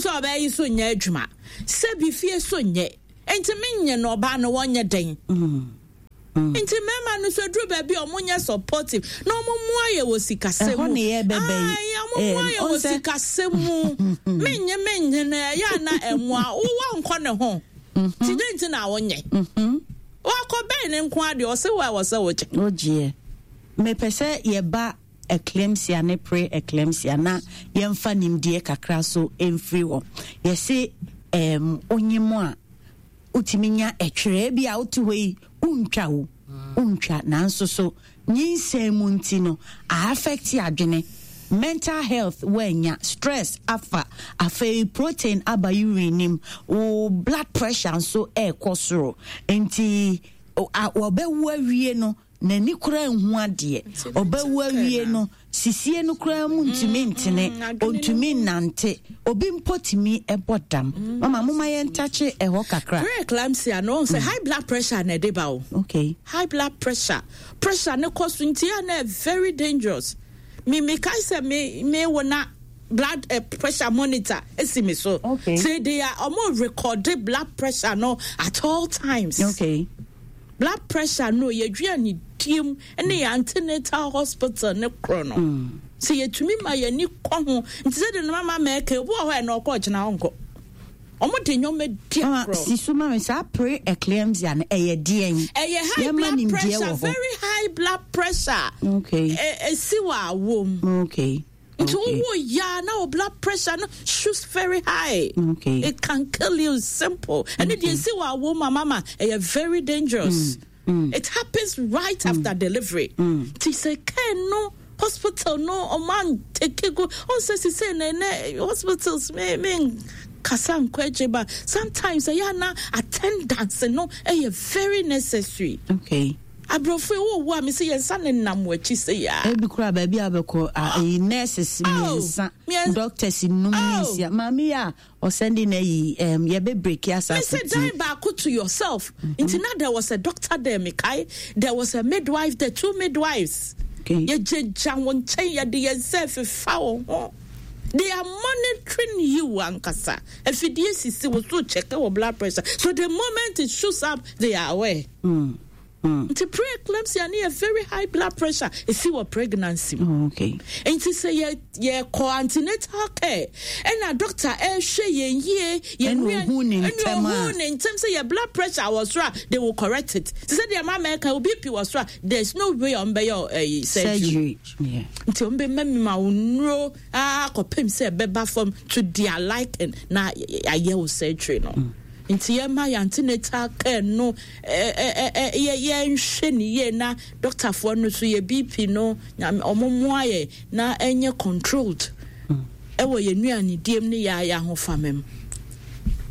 sɛ ɔbɛyɛ yi so nyɛ adwuma, sɛ bi fie so nyɛ, nti menyɛ no, ɔbaa no wɔnyɛ den. Nti mmarima no so duru baabi a ɔmo nyɛ supportive na ɔmo mmoa yɛ wɔ sikasɛm mu. Ayi, ɔmo mmoa yɛ wɔ sikasɛm mu. Menyɛ menyɛ no ɛyɛ ana ɛmoa wowɔ nkɔ ne ho ti de nti na wonyɛ wakɔ bɛn ne nko adeɛ ɔsɛ wo a wɔ sɛ wogye. Wogyeɛ. Mepɛ sɛ yɛba eclampsia ne pre eclampsia na yɛmfa nimdeɛ kakra so mfiri hɔ. Yɛse um, onyim a wotumi nya ɛtwerɛ bi a wote hɔ yi, wontwa wo wontwa, nanso so nyinsɛn mu nti no a affect adwene, mental health, woanya stress afa, afei protein aba urine nim, wo blood pressure nso ɛrekɔ soro, nti wɔbɛwo awie no n'ani koraa nhu adeɛ, ɔbɛwo awie no sisie no koraa mu ntumi ntene, ɔntumi nnante, obi mpo tumi ɛbɔ dam. Mama, moma yɛntakye ɛhɔ kakra. Pre-eclampsia no, sɛ high blood pressure na ɛde ba o. Okay high blood pressure pressure ne kɔ so nti a na very dangerous. Me mekae sɛ me me wɔ na blood uh, pressure monitor esi mi so. Okay. Say they are almost record blood pressure no at all times. Okay. Blood pressure no yɛdua diem ne yɛ antenatal hospital ne korɔ no. Mm. Sɛ yɛtumi ma yɛni kɔ ho nti sɛ de no mama mɛɛka, obi wɔ hɔ ɛ na ɔkɔ ɔkyena ɔnkɔ, ɔmo de nneɛma di agorɔ. Si so ma mi, saa pre eclampsia no ɛyɛ deɛn? Ɛyɛ high blood pressure, very high blood pressure. Okay. Esi wɔ awom. Okay. Nti wowo ya na wo blood pressure no shoots very high. Okay. It can kill you, simple. Ɛne deɛ esi wɔ awom ma mama ɛyɛ very dangerous. Mm. Mm. It happens right mm. after delivery. Nti sɛ kɛn no hospital no ɔman take go ɔn sɛ sise na ɛnɛ hospitals me me kasa nkɔ akyi ba, sometimes ɛyɛ ana attendance no ɛyɛ very necessary. Okay. Aborɔfo yi wɔwɔ a mesi yɛn nsa ne nam wɔ akyi sɛ yaa. Ebi kura baabi a bɛkɔ ayi, nurses mmiɛnsa, doctors num ne nsia. Maame yi a ɔsɛnde na yi um, yɛbɛ break asase. Mese dan baako to yourself. Mm -hmm. Nti na there was a doctor there, mekae there was a midwife there, two midwives. Okay. Yɛgyegya wɔn nkyɛn, yɛde yɛn nsa fefa wɔn ho. They are monitoring you ankasa. Afidie sisi wɔ so check wɔ blood pressure, so the moment it shoots up, they are aware. Mm. Mm. Nti pre-eclampsia ne yɛ very high blood pressure esi wɔ pregnancy mu. Oh, okay. Nti sɛ yɛ yɛkɔ antenatal care ɛna doctor ɛhwɛ yɛn yie, yɛn nua ɛna ohun ne ntɛm a, ohun ne ntɛm sɛ yɛ blood pressure wɔ soro a, they will correct it. Sɛ sɛ deɛ maama ɛka o B P wɔ soro a, there is no way ɔn bɛyɛ ɛyi surgery. Surgery. Nti ɔn bɛ mɛmi ma nnuro akɔpem sɛ ɛbɛba fam to their liking na ayɛ o surgery no. Mm. Nti yɛma yɛ antenatal care no yɛ yɛnhwɛ ne yie na doctorfoɔ no so yɛ B P no ɔmo mmoa yɛ na ɛnyɛ controlled ɛwɔ yɛn nnuane diem ne yɛ ayɛ ahofama mu.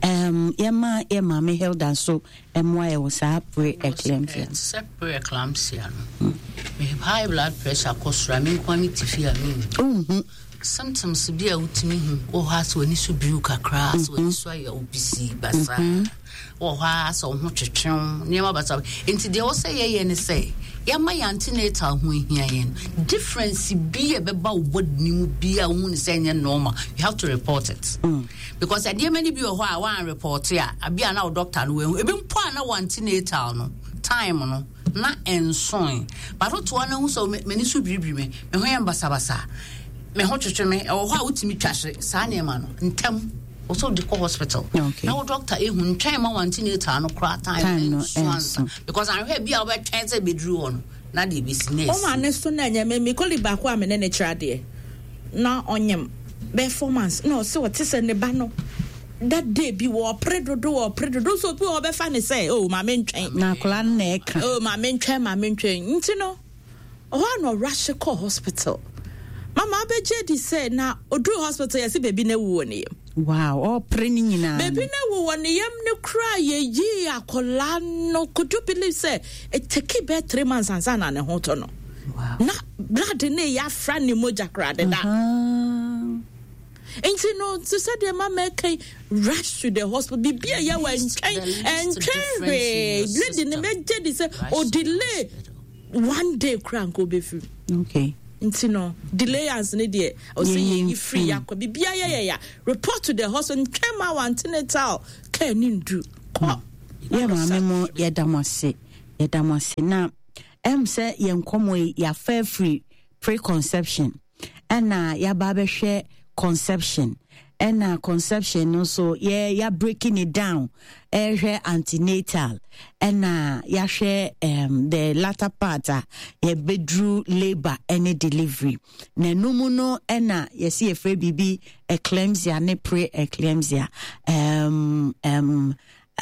Um, yɛma yɛ maame Hilda nso mmoa yɛ wɔ saa pre-eclampsia. Sɛ pre-eclampsia no, me high blood pressure kɔ soro a, me nko me te fie a menhu symptoms bi a wotumi hu wɔ hɔ a, sɛ w'ani so biriw kakra, sɛ w'ani so ayɛ wo bisii basaa wɔ hɔ a, sɛ wo ho twetwew nneɛma basa. Nti deɛ wɔ sɛ yɛyɛ ne sɛ yɛma yɛn antenatal ho ahia yɛn. Difference bi a ɛbɛba wo body ne mu bi a wohu ne sɛ ɛnyɛ normal, you have to report it mm. because nneɛma no bi wɔ hɔ a wɔan report a, abi a na wo doctor no wahu, ebi mpo a na wɔ antenatal no time no na nsoe, but wotoa no ho sɛ m'ani so biribiri me, me ho yɛ basabasa, me ho twetwe me, ɛwɔ hɔ a wotumi twa hye saa nneɛma no ntɛm wɔsɛ wode kɔ hospital na wo doctor ehu. Ntwɛn ma wɔ antenatal no koraa time nso ansa, because ahwɛ bi a wobɛtwɛn sɛ bɛduru hɔ no na deɛ bɛsi na ɛsi. Ɔma ne so na ɛnyɛ me me colleague baako a me ne ne kyerɛ adeɛ na ɔnyem bɛɛ four months na ɔsɛ ɔte sɛ ne ba no that day bi wɔpere dodo, wɔpere dodo so obi wɔ ɔbɛfa ne sɛ, "Oh, maame ntwɛn." Na akwadaa no na ɛka. "Oh, maame ntwɛn, maame ntwɛn." Nti no ɔhɔ a na ɔrush kɔ hospital. Mama Mama abɛgye di sɛ na oduru hospital, yɛsɛ beebi na ewu wɔ ne yam. Wow, ɔpere ne nyinaa. Beebi na ewu wɔ ne yam ne kura yɛyi akɔlaa no. Could you believe sɛ it take bɛɛ three months ansa na ne ho tɔ no? Wow. Na blood ne yɛ afra ne mogya kora deda. Uh-huh. Nti no, te sɛ deɛ mama ɛka yi, rush to the hospital. Biribi a yɛ wɔ ɛntwɛn ɛntwɛn hwee. Lady ne mɛgye di sɛ o delay one day kora nka obɛfiri. Okay. Nti no, delayance ne deɛ, ɔsɛ Yɛyi yɛyi firi mfiri. yakɔ biribi ayɛ yɛ ya, report to the hospital. Ntwɛn ma wɔ antenatal care ne ndu kɔ. Yɛ maame mo, yɛda mo ase, yɛda mo ase. Na ɛm sɛ yɛn nkɔmmɔ yi, yɛafa afiri preconception, ɛna yɛaba abɛhwɛ conception, ɛna conception no nso yɛ yɛ breaking it down, ɛhwɛ antenatal, ɛna yɛahwɛ um, the latter part a yɛbɛduru labour ɛne delivery. Na ɛno mu no, ɛna yɛsi yɛfrɛ biribi eclampsia ne pre-eclampsia. um, um,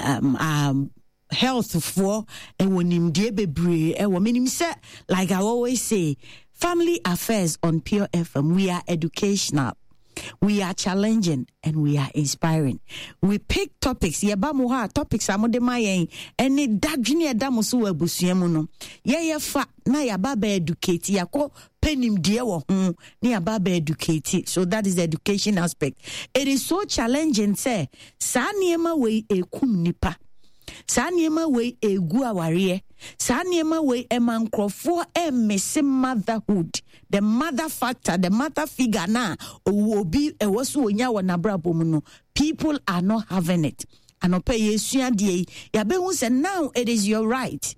um, um, health foɔ ɛwɔ nimdeɛ bebree ɛwɔ. Menim sɛ, like I always say, Family Affairs on Pure F M, we are educational, we are challenging and we are inspiring. We pick topics, yɛba mo hɔ a, topics a mode ma yɛn ɛne dadwene ɛda mo so wɔ abusua mu no, yɛyɛ fa na yɛaba bɛ educate, yɛakɔ pɛ nimdeɛ wɔ ho na yɛaba bɛ educate. So that is the education aspect. It is so challenging sɛ saa nneɛma wei ekum nipa, saa nneɛma wei egu awareɛ, saa nneɛma wei ɛma nkurɔfoɔ ɛmmese motherhood, the mother factor, the mother figure na owu obi ɛwɔ so onya wɔ n'abrabɔ mu no, people are not having it. Anɔpɛ yɛsua adeɛ yi, yɛabɛhu sɛ now it is your right.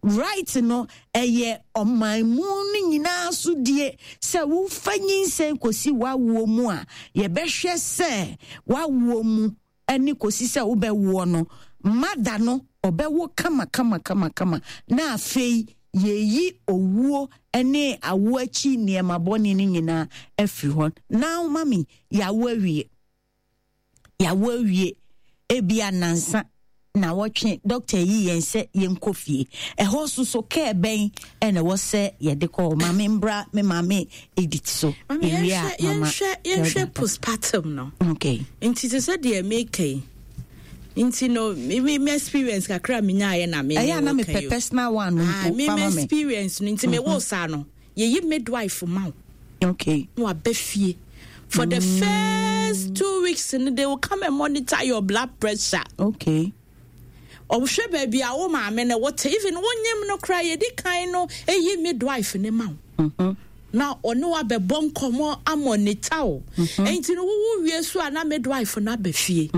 Right no, ɛyɛ ɔman mu no nyinaa so die sɛ wofa nyinsɛn kɔsi w'awoɔ mu a, yɛbɛhwɛ sɛ w'awoɔ mu ɛne kɔsi sɛ wobɛwoɔ no, mother no ɔbɛwo kama kama kama kama, na afei yɛyi owuo ne awo akyi nneɛma bɔne no nyinaa afiri hɔ. Now mami, yɛawo awie, yɛawo awie, ebia nansa na wɔtwe doctor yi yɛn sɛ yɛnkɔ fie. Ɛhɔ so so care bɛn ɛna ɛwɔ sɛ yɛde kɔ? Maame mbra, me maame Edith so. Mami, ewie a, yɛnhwɛ mama yɛnhwɛ yɛnhwɛ postpartum no. Okay. Nti te sɛ deɛ meka yi, nti no, me me me experience kakra a menyaayɛ na me ɛyɛ a na ne wo ka mepɛ yi o. Personal one no Ah, mpo me fama me me. experience no, nti mewɔ saa no, yɛyi midwife ma wo okay na waba fie for the first two weeks no, they will come and monitor your blood pressure. Okay ɔhwɛ baabi a wo maame no wote, even wonyim no koraa, yɛdi kan no ɛyi midwife ne ma wo na ɔne wabɛbɔ nkɔmmɔ amonitor wo. Nti no, wowo wie so a, na midwife no aba fie.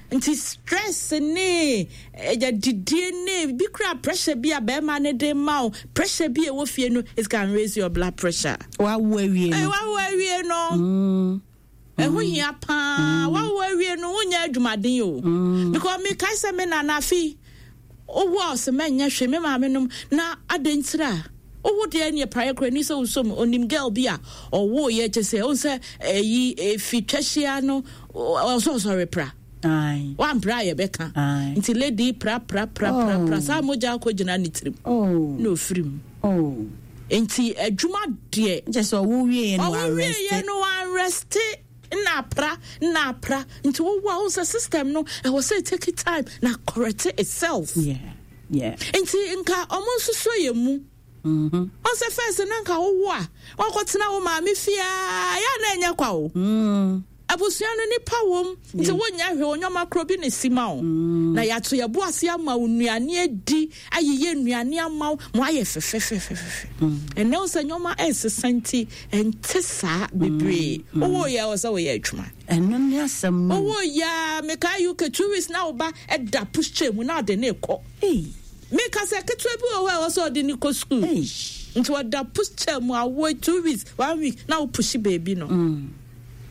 Nti stress ne ɛgya didie ne bi kura, pressure bi a bɛrima ne de ma wo, pressure bi a ɛwɔ fie no, it can raise your blood pressure. Wawo awie ɛyɛ no. Wawo awie no, ɛho hia paa. Wawo awie no, wonyɛ adwumaden o, because mekae sɛ me nana afi owó a ɔsɛ mɛnyɛ hwee, me maame nom na adɛntira a owó deɛ neɛ praeɛ kora ni sɛ wosom onim girl bi a ɔwɔ yɛ kyɛ sɛ ɔhu sɛ ɛyi efi twɛhyia no, ɔsɛ ɔsɔre pra. Aye. Wampra a, yɛbɛka. Aye. Nti lady pra pra pra pra pra Oh. saa mogya akɔ gyina ne tirim Oh. na ofiri mu. Oh. Nti adwuma deɛ, nkyɛ sɛ ɔwo wie no, ɔwo wieɛ no, wanrest na apra na apra. Nti wowɔ a, wo sɛ system no ɛwɔ sɛ take time na correct itself. yeah yeah Nti nka ɔmo nso so yɛ mu mm-hmm. Ɔsɛ first na nka wowo a, wakɔtena wo maame fiaa yɛ na ɛnyɛ kwa o. mm. Abusua no nipa wom, nti wonya hwɛ onyɔma korɔ bi ne si ma wo na yɛato yɛbo ase ama wo nnuane adi, ayeyɛ nnuane ama wo ma ayɛ fɛfɛfɛfɛfɛ. Ɛnɛ wo sɛ nneɔma ɛnsesa, nti ɛnte saa bebree. Wowɔ yɛ wɔ sɛ woyɛ adwuma. Ɛno ne asɛm no. Owó ya, meka U K two weeks na wo ba ɛda pushchair mu na ɔde ne kɔ. Ei. Meka sɛ ketewa bi wɔ hɔ a ɛwɔ sɛ ɔde ne kɔ school. Ei. Nti ɔda pushchair mu awo two weeks, one week na wo push baby no.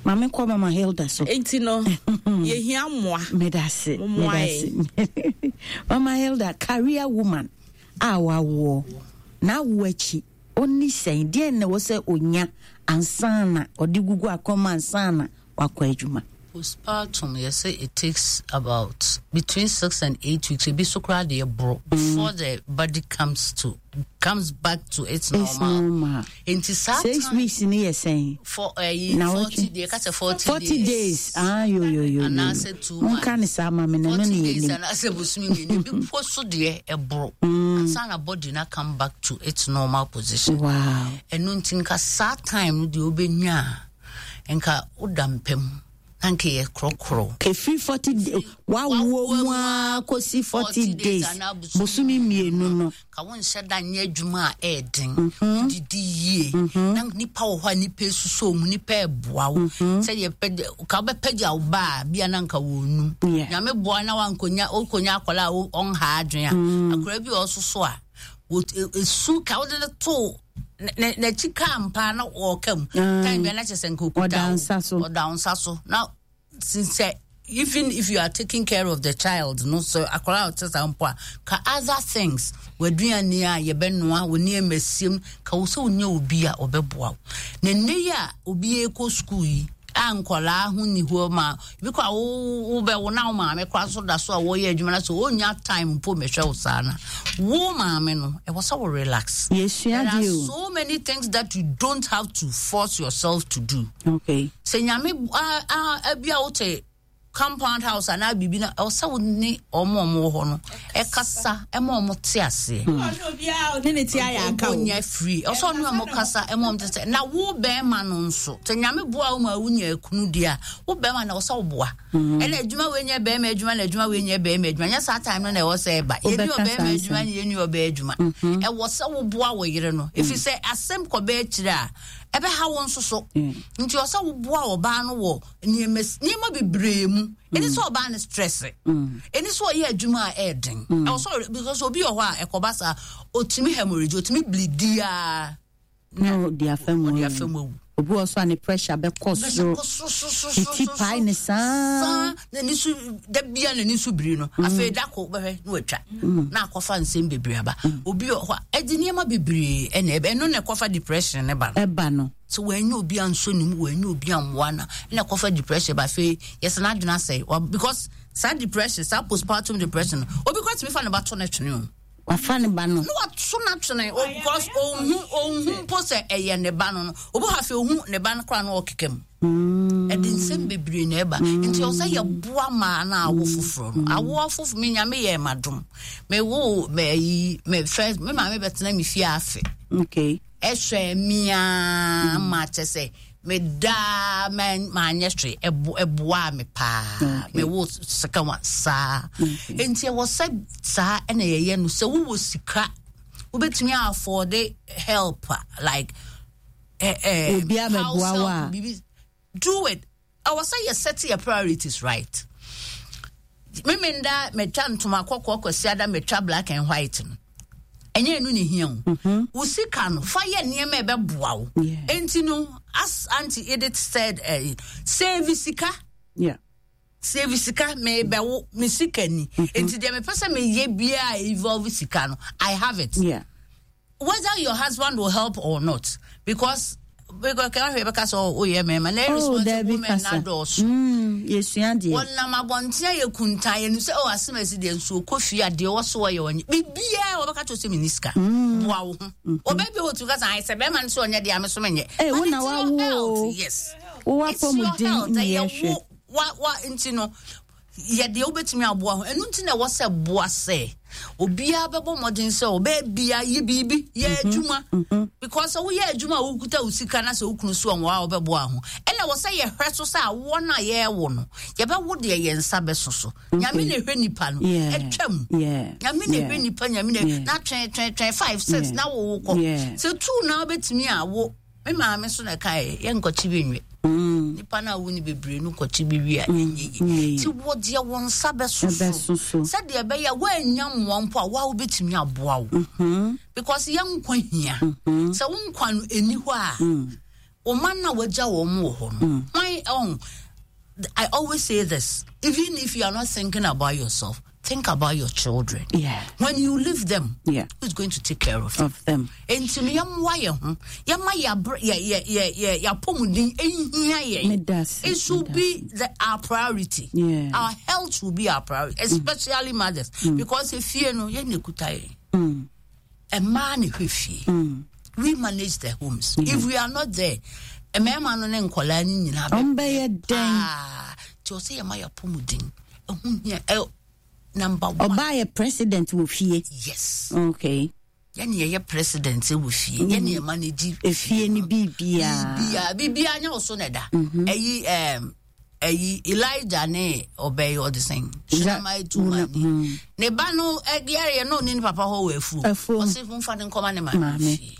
Maame, kɔ mama Hilda so. Nti no, yɛhia mmoa. Medase. Mmoa. Medase. Mama Hilda, career woman a wawoɔ na awo akyi, ɔni sɛn deɛ na ɛwɔ sɛ onya ansa na ɔde gugu akɔma ansa na wakɔ adwuma? Postpartum, you say it takes about between six and eight weeks. Ebi so koraa deɛ boro before the body comes to comes back to its normal. It's normal. Nti saa six time weeks ni yɛ sɛn? For ɛyi Na forty wɔtwe- deɛ kasa forty forty days. Ah, yo yo yo. Anaasɛ two months. Monka ne saa ma me na ɛno forty ne days yɛ anaasɛ bosome mmienu ebi mpo so deɛ ɛboro ansa na body na come back to its normal position. Wow. Ɛno nti nka saa time no deɛ wobɛnya a, nka woda mpam na nka yɛ korɔkorɔ. Kefiri forty days wawo mu a kɔsi forty days anaa bosome mmienu no. Ka wonhyɛ da nyɛ adwuma a ɛɛden, wodidi yie na nipa wɔ hɔ a nipa esusɔ mu, nipa ɛboa wo sɛdeɛ pɛgya ka wobɛpɛgya wo ba a bia na nka wɔnum. Yeah. Nyame boa na wankonya wokonya akwadaa a wo- ɔnha adwene a, akwadaa bi a ɔsoso a wɔ- e- esu ka wode no to ne- n'akyi kaa mpa na ɔɔka mu Mm. time bia na kyerɛ sɛ nka okuta Ɔda wo. nsa so. Ɔda wo nsa so na since sɛ even if you are taking care of the child no, so akwadaa a ɔte saa mpo a, ka other things, w'aduane a yɛbɛnoa, wo nneɛma siem ka wo sɛ wonya obi a ɔbɛboa wo. Na nnɛ yi a obi ekɔ school yi a nkɔlaa ho ni hɔ ma ebi kɔ a wo wobɛwo na wo maame koraa so da so a wɔyɛ adwuma na so ɔnya time mpo mɛhwɛ wo saa na wo maame no ɛwɔ sɛ wo relax. Yɛsua There are deɛ o. so many things that you don't have to force yourself to do. Okay. Sɛ Nyame a- a- abi a wote compound house anaa biribi na ɛwɔ sɛ wo ne ɔmo a ɔmo wɔ hɔ no ɛkasa ɛma ɔmo te aseɛ. Ne ne ti ayɛ aka o. Ɔnyɛ free, ɛwɔ sɛ ɔne ɔmo kasa ɛma ɔmo te sɛ na wo bɛrima no nso sɛ Nyame boa wo ma wonya akunu deɛ a, wo bɛrima na ɛwɔ sɛ woboa. Ɛna adwuma wei nyɛ bɛrima adwuma na adwuma wei nyɛ bɛrima adwuma, nyɛ saa time no na ɛwɔ sɛ ɛba yɛni Wobɛka ɔbɛrima saa adwuma nsɛm. ne yɛni ɔbaa adwuma. Ɛwɔ sɛ woboa wo yere no ɛfiri sɛ asɛm kɔbɛɛ akyire a ɛbɛha wo nso so. Nti ɔsɛ woboa ɔbaa no wɔ nneɛma nneɛma bebree mu. Ɛni sɛ ɔbaa no stress, ɛni sɛ ɔyɛ adwuma a ɛɛden, ɛwɔ sɛ ɔre- because obi wɔ hɔ a ɛkɔba saa ɔtumi hemorrhage, ɔtumi bleed a Na ɔde afa mu ɔde awu. afa mu awu. Obi wɔ so a ne pressure bɛkɔ soro. Kɔ soro, soro, soro, Ne ti soro, pae soro. ne saa. Saa n'ani so da bia n'ani so biri no, afei da ko bɛhwɛ na watwa na akɔfa nsɛm bebree aba. Obi wɔ hɔ a ɛde nneɛma bebree ɛna ɛbɛ ɛno na ɛkɔfa depression ne ba no. Ɛba no. Sɛ wɔanya obi ansɔ ne mu, wɔanya obi ammoa na ɛna ɛkɔfa depression ba. Afei yɛsɛ n'adwene asɛe Wa- because saa depression, saa postpartum depression no, obi kora tumi fa ne ba to ne twene o. Wafa ne ba no. Na wato n'atwene o, because ohun ohun mpo sɛ ɛyɛ ne ba no no obi hɔ afei ohun ne ba no koraa na ɔkeka mu. Ɛde nsɛm bebree na ɛba, nti ɔsɛ yɛboa maa na awo foforɔ no, awo foforɔ. Me Nyame yɛ ma dom, me wo me yi me first, me maame bɛtena me fie afe Okay. ɛhwɛ mia ma kyɛ sɛ medaa maanyɛ hwee, ɛbo ɛboaa me paa. Okay. Mewo second one saa, nti ɛwɔ sɛ saa ɛna yɛyɛ no. Sɛ wowɔ sika wobɛtumi afford help a, like eh, eh, Obi abɛboa house wo help, a. biribi, do it. Ɛwɔ sɛ yɛ set your priorities right. Memenda metwa ntoma kɔkɔɔ, Kwasiada metwa black and white no, ɛnyɛ ɛno ne hia o. Wo sika no, fa yɛ nneɛma a ɛbɛboa wo. Yeah. Enti no, as Auntie Edith said, uh, save sika. Yeah. Save sika. Mebɛwo me sika ni, enti deɛ mepɛ sɛ meyɛ biaa involve sika no, I have it, Yeah. whether your husband will help or not, because because kan hwɛ bɛka sɛ woyɛ mmarima na Oh, irresponsible Dabi women na kasa. dɔɔso. Mm, yɛsua deɛ. Wɔnam abɔnten ayɛ kuntan yɛnu sɛ ɔ asɛm asi deɛ nsuo kɔ fie a deɛ wɔ so wɔyɛ wɔnyɛ biribiaa wɔbɛka kyerɛ sɛ menni sika, boa wo ho. Ɔbaa bi wɔ tumi ka sɛ ayɛ sɛ bɛrima no sɛ ɔnyɛ deɛ ame so menyɛ. Eh, wo But na it's your wawo o. health, yes. Wowɔ It's your apɔmuden health, ne ɛyɛ yɛhwɛ. wo wa wa nti no yɛdeɛ wobɛtumi aboa ho. Ɛno nti na ɛwɔ sɛ boa sɛ obiara bɛbɔ mmɔden sɛ ɔbɛɛ bia yɛ biribi, yɛ adwuma, because sɛ woyɛ adwuma a wokuta wo sika na sɛ wokunu so ɔnwɔ a wobɛboa ho. Ɛna ɛwɔ sɛ yɛhwɛ so sɛ awoɔ no a yɛɛwo no, yɛbɛwo deɛ yɛn nsa bɛso so. Nyame na ɛhwɛ nipa no. Yeah. Ɛtwam. Yeah. Nyame na Yeah. ɛhwɛ nipa. Nyame na Yeah. na twɛn twɛn twɛn five six Yeah. na wowo kɔ. Yeah. Sɛ two na wobɛtumi awo, me maame so na ɛkae yɛnkɔkye bi nwe. Mm. Nipa no a wo ne bebree no kɔkye bi wie a, ɛnyɛ nyɛ yie. yie. Nti wɔdeɛ wo nsa bɛso Ɛbɛso so so. sɛdeɛ ɛbɛyɛ a woanya mmoa mpo a woa wobɛtumi aboa wo, Mm-hmm. because yɛ nkwa hia. Sɛ wo nkwa no ɛni hɔ a, wo ma no a wagya wɔ mo wɔ hɔ no hwan ɔn. I always say this: even if you are not thinking about yourself, Think about your children. Yeah. When you leave them, yeah. who's going to take care of them? Of them. Enti no yɛmmoa yɛn ho. Yɛma yɛabrɛ yɛ yɛ yɛ yɛ yɛapɔmuden ehia yɛn. It should be the, our priority. Yeah. Our health should be our priority, especially mm. mothers, mm. because efie no yɛn na ekuta yɛn. Mm. Mmaa na ehwɛ fie. Mm. We manage the homes. Yeah. If we are not there, mmarima no ne nkɔlaa no nyinaa bɛ. Ɔmbɛyɛ dɛn? Ah, tí ɔsɛ yɛma yɛapɔmuden ɛho hia ɛ number one. Ɔbaa yɛ president wɔ fie. Yes. Okay. Yɛne yɛyɛ president wɔ fie. Mm. Yɛne yɛ manage. Efie ni biribiara. Biribiara biribiara nyɛ ɔso na ɛda. Ɛyi ɛɛm ɛyi Elijah ne ɔbɛyi ɔde sɛn. Shunammite woman ni. Ne ba no ɛyare yɛ no ne ne papa hɔ wɔ afuo. Afuo. Ɔsi nfa ne nkɔma ne maame fie.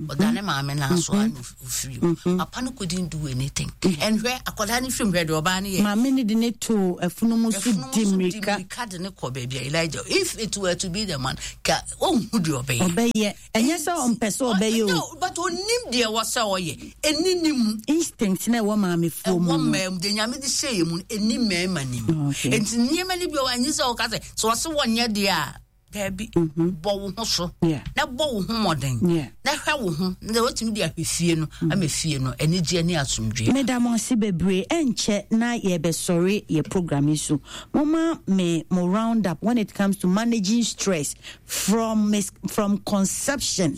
Ɔda ne maame na so ano ofiri mu. Papa no couldn't do anything. And hwɛ akwadaa ne firim hwɛ deɛ ɔbaa no yɛ. Maame ne de ne to afunumu so di mmirika. Mmirika de ne kɔ baabi a Elijah. If it were to be the man, ka ɔnhu deɛ ɔbɛyɛ. Ɔbɛyɛ. Ɛnyɛ sɛ ɔmpɛ sɛ ɔbɛyɛ o. No, but onim deɛ wɔ sɛ ɔyɛ. Ɛni ne mu. Instinct na ɛwɔ maamefoɔ mu. Ɛwɔ mmaa mu. Deɛ Nyame de hyɛ yɛ mu no, ɛni mmarima ne mu. Nti nneɛma no bi wɔ hɔ a, ɛnyɛ sɛ ɔka sɛ, sɛ ɔse wɔnyɛ deɛ a, daabi. Bɔ wo ho so. Na bɔ wo ho mmɔden. Na hwɛ wo ho. Na watumi de ahwɛ fie no, ama fie no anigyeɛ ne asomdwoeɛ. Meda mo ase bebree. Ɛnkyɛ na yɛbɛsɔre yɛ program yi so. Momma me mo round up when it comes to managing stress from mis from conception,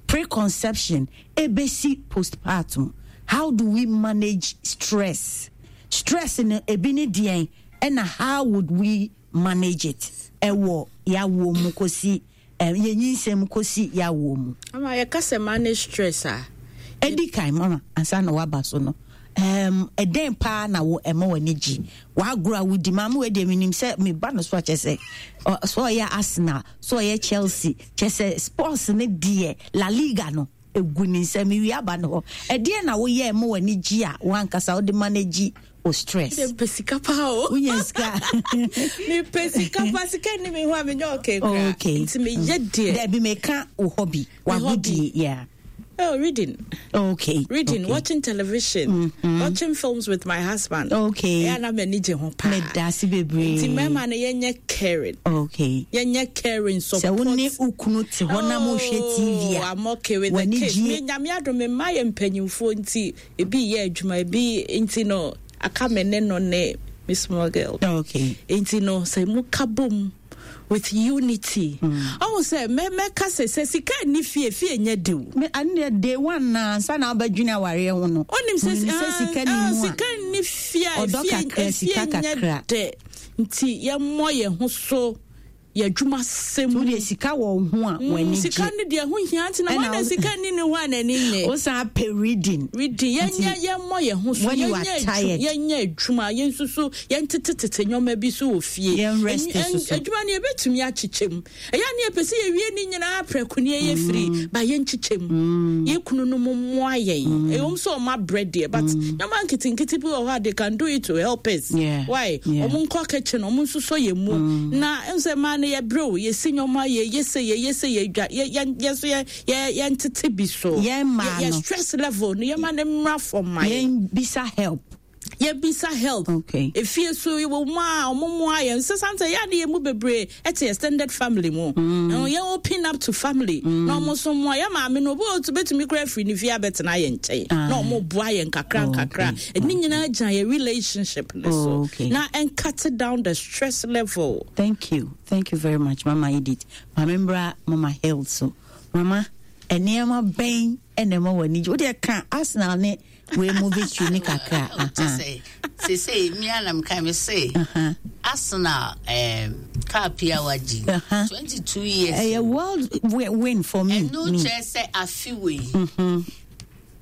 preconception, ebesi postpartum. How do we manage stress? Stress no ebi ne deɛn, ɛna how would we manage it ɛwɔ yawoɔ mu kɔsi eh, yɛnyinsɛn mu kɔsi yawoɔ mu? Ama yɛka sɛ manage stress a, ɛdi kan mama ansa na waba so no, um, ɛdɛn paa na wo ɛma w'ani gye w'agorɔ a wodi? Maame wei deɛ menim sɛ meba no so akyɛ sɛ sɛ ɔyɛ Arsenal, sɛ ɔyɛ Chelsea, kyɛ sɛ sports ne deɛ La Liga no egu ne nsam mewie aba no hɔ. Ɛdeɛn na woyɛ ɛma w'ani gye a w'ankasa wode manage o stress? Mepɛ sika paa o. Wonya sika? Mepɛ sika paa. Sika ni me ho a menyɛ okay koraa. Okay. Nti meyɛ deɛ. Dabi, meka wo hobby, w'agodie, yeah. Oh, reading. Okay. Reading, okay. Watching television, mm-hmm. watching films with my husband. Okay. Yeah, na m'ani gye ho paa. Medase bebree. Nti mmarima no yɛnyɛ caring. Okay. Yɛnyɛ caring support. Sɛ wo ne wo kunu te hɔ na mohwɛ T V a. Oh, I'm okay with the kids. Me Nyame adom me mma yɛ mpanyimfoɔ nti ebi yɛ adwuma ebi nti no aka me ne no ne me small girl. Okay. Nti no sɛ mo ka bom with unity. Ɔhu sɛ mɛ mɛka sɛ sɛ sika nni fie, fie nyɛ dew. Me ane day one na ansa na wobɛdwene awareɛ ho no. Onim sɛ Menim sɛ sika ni mu a. Sika nni fie a Ɔdɔ fie kakra, fie sika nyɛ kakra. dɛ. Nti yɛmmɔ yɛn ho so yɛ adwuma sɛm. Wo deɛ sika wɔ wo ho a w'ani gye. Sika no deɛ ho hia nti na Ɛna wɔn na wo- sika ni ne ho a n'ani nye. Wo san pɛ reading. Reading yɛnyɛ yɛmmɔ yɛn ho so When you are yɛnyɛ adwu- tired. yɛnyɛ adwuma yɛn nso so yɛntetetete nneɛma bi so wɔ fie. Yɛn rest Ɛn- so so. Adwuma no yɛbɛtumi akyekyɛ mu. Ɛyɛ ne yɛpɛ sɛ yɛwie ne nyinaa prɛko ne yɛyɛ firi ba yɛnkyekyɛ mu. Yɛn kunu no mo mmoa yɛn. Ɛwom sɛ ɔmo abrɛ deɛ, but nneɛma nketenkete bi wɔ hɔ a they can do it to help us. Yeah. Why? Yeah. Ɔmo nkɔ kitchen, ɔmo nso sɔ yɛn mu. Na ɛm sɛ mmaa no yɛbrɛ o, yɛsi nneɛma, yɛyɛ sɛ yɛyɛ sɛ yɛdwa yɛ yɛn yɛn so yɛ yɛ yɛntete bi so. Yɛn mmaa Yɛ no. stress level no yɛma ne mmra fam ma yɛn. Yɛn bisa help. Yɛbisa help. Okay. Efie so wɔ mu a ɔmo mu ayɛ nsɛ santa yɛ ade yɛ mu bebree ɛte extended family mu. Mm. Yɛn open up to family. Na ɔmo so mu a yɛ maame no obi wɔ betumi kura afiri ne fie abɛtena yɛn nkyɛn. Ah. Na ɔmo boa yɛn kakra Oh, nkakra. okay. Ɛne nyinaa gyina yɛ relationship ne so. Oh, okay. Na ɛn cut down the stress level. Thank you. Thank you very much, Mama Edith. Mama Mbra, Mama Health. So, Mama, nneɛma bɛn ɛna ɛma w'ani gye? Wodeɛ ka Arsenal ne wei mu victory ne kakra. Kyɛ sɛ seesei me anam ka me se Aha. Arsenal um, cup yi a wagye Uh-huh. twenty-two years. Ɛyɛ world wi- win for me. Ɛno me. kyerɛ sɛ afe wei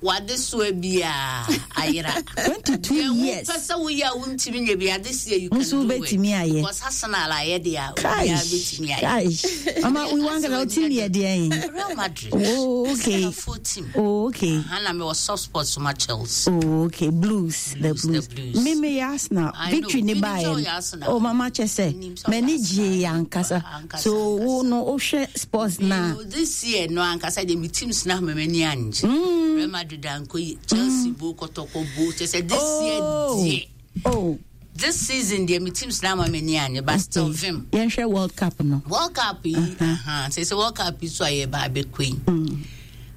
wade soa biaa ayera. twenty-two Deɛ years. wopɛ sɛ woyɛ a wontumi nyɛ bi ade seɛ, you can Nso do it. wobɛtumi ayɛ. Because Arsenal ayɛ deɛ a obiara Kaish. bɛtumi ayɛ. Kaish. Mama, we want to team yɛ deɛn? Real Madrid. Oh, okay. Arsenal team. Oh, okay. Hana mewɔ soft spot so ma Chelsea. Oh, okay. Blues, the Blues, the Blues. Blues. Me me yɛ Arsenal. I Victory know. ne Menim ba sɛ yɛ. woyɛ Arsenal. Oh, mama kyɛ sɛ Menim sɛ woyɛ m'ani gye yɛ Arsenal. ankasa. Ankasa, So wo ankasa. no wohwɛ sports na. You know, this year no ankasa deɛ me teams na ama m'ani angye. Real Madrid ankɔ yi, Chelsea bo, Kɔtɔkɔ bo, kyɛ sɛ this year Oh. deɛ Oh. This season deɛ, me teams na ama m'ani anye, but still vim. Yɛnhwɛ World Cup no. World Cup yi, uh-huh. Sɛ sɛ World Cup yi so a yɛba abɛkɔ yi,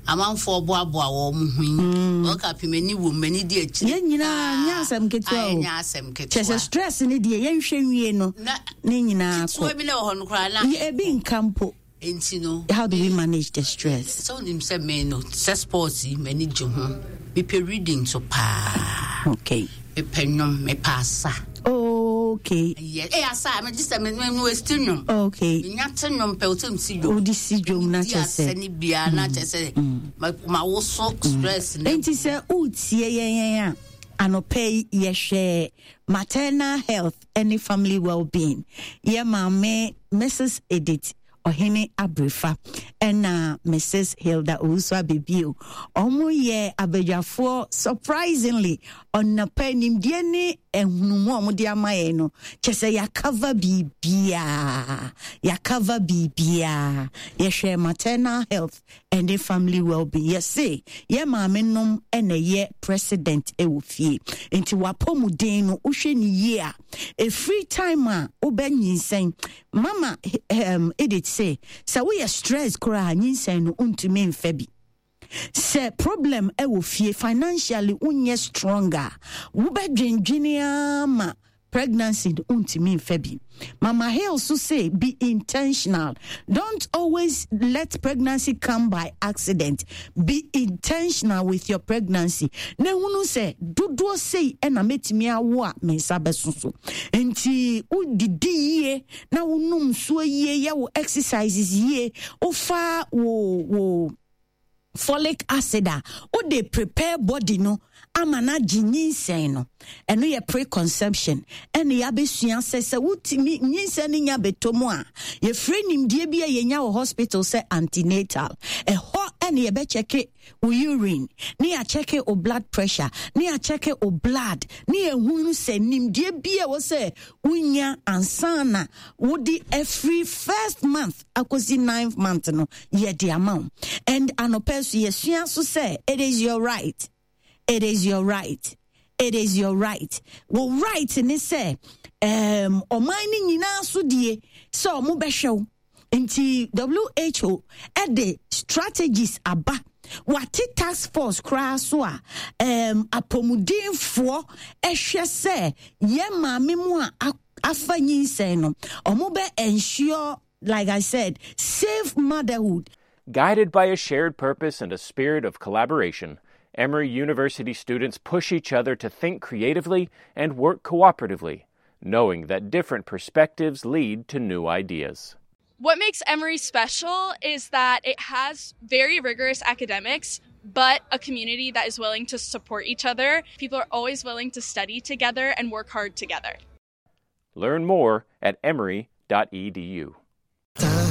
amanfoɔ boaboa wɔn ho yi, World Cup yi m'ani wɔ mu, m'ani di akyire. Yɛn nyinaa, nyɛ asɛm ketewa o. Nyɛ asɛm ketewa. Kyɛ sɛ stress ne deɛ, yɛnhwɛ nwie no na ne nyinaa ketewa kɔ bi na wɔ hɔ no koraa na ebi nka mpo. Nti no, how do we manage the stress? Sɛ wonim sɛ me no, sɛ sports yi m'ani gye ho, mepɛ reading so paa. Okay mepɛ nnwom, mepɛ asa. Okay yɛ ɛyɛ asa a megye sɛ me me westi nnwom. Okay menya te nnwom pɛ, wosɛ msi dwom. Wode si dwom na di kyɛ asɛ sɛ ne biara na kyɛ sɛ ma ma wo so stress ne. Nti sɛ wotie yɛn yɛn a, anɔpɛ yi yɛhwɛ maternal health ne family well-being. Yɛ maame Missus Edith Ɔhene Abrefa ɛna Missus Hilda Owusu Abebio, ɔmo yɛ abadwafoɔ. Surprisingly, ɔnapa nimdeɛ ne ɛhunumu a ɔmo de ama yɛn no, kyɛ sɛ yɛacover biribiaa, yɛacover biribiaa. Yɛhwɛ maternal health ɛne family well-being. Yɛse yɛ maame nom ɛna ɛyɛ president ɛwɔ fie, nti wapɔmuden no, wohwɛ ne yie a, ɛfiri time a wobɛnyinsɛn. Mama um, Edith sɛ sɛ woyɛ stress koraa, nyinsɛn no wontumi mfa bi. Sɛ problem ɛwɔ fie, financially wonyɛ strong a, wobɛdwendwene ama pregnancy no wontumi mfa bi. Mama Hill so say be intentional. Don't always let pregnancy come by accident. Be intentional with your pregnancy na ehunu sɛ dodoɔ sei ɛna mɛtumi awo a me nsa bɛso so. Nti wodidi yie na wonom nsuo yie, yɛ wo exercises yie, wofa wo wo folic acid a wode prepare body no ama no agye nyinsɛn no. Ɛno yɛ preconception. Ɛne yɛabɛsua sɛ sɛ wotumi nyinsɛn no nya bɛtɔ mu a, yɛfrɛ nimdeɛ bi a yɛnya wɔ hospital sɛ antenatal. Ɛhɔ ɛne yɛbɛcheck wo urine, ne yɛacheck wo blood pressure, ne yɛacheck wo blood, ne yɛhunu sɛ nimdeɛ bi a ɛwɔ sɛ wonya ansa na wode afiri first month akɔsi ninth month no, yɛde ama wo. And anɔpɛ so yɛsua so sɛ it is your right, it is your right, it is your right. Wo right ne sɛ um, ɔman no nyinaa so die sɛ ɔmo bɛhwɛ wo. Nti W H O ɛde strategies aba, wate task force koraa so a um, apɔmudenfoɔ ɛhwɛ sɛ yɛn maame mu a afa nyinsɛn no, ɔmo bɛ ensure, like I said, safe motherhood. Guided by a shared purpose and a spirit of collaboration, Emory University students push each other to think creatively and work cooperatively, knowing that different perspectives lead to new ideas. What makes Emory special is that it has very rigorous academics, but a community that is willing to support each other. People are always willing to study together and work hard together. Learn more at emory dot edu.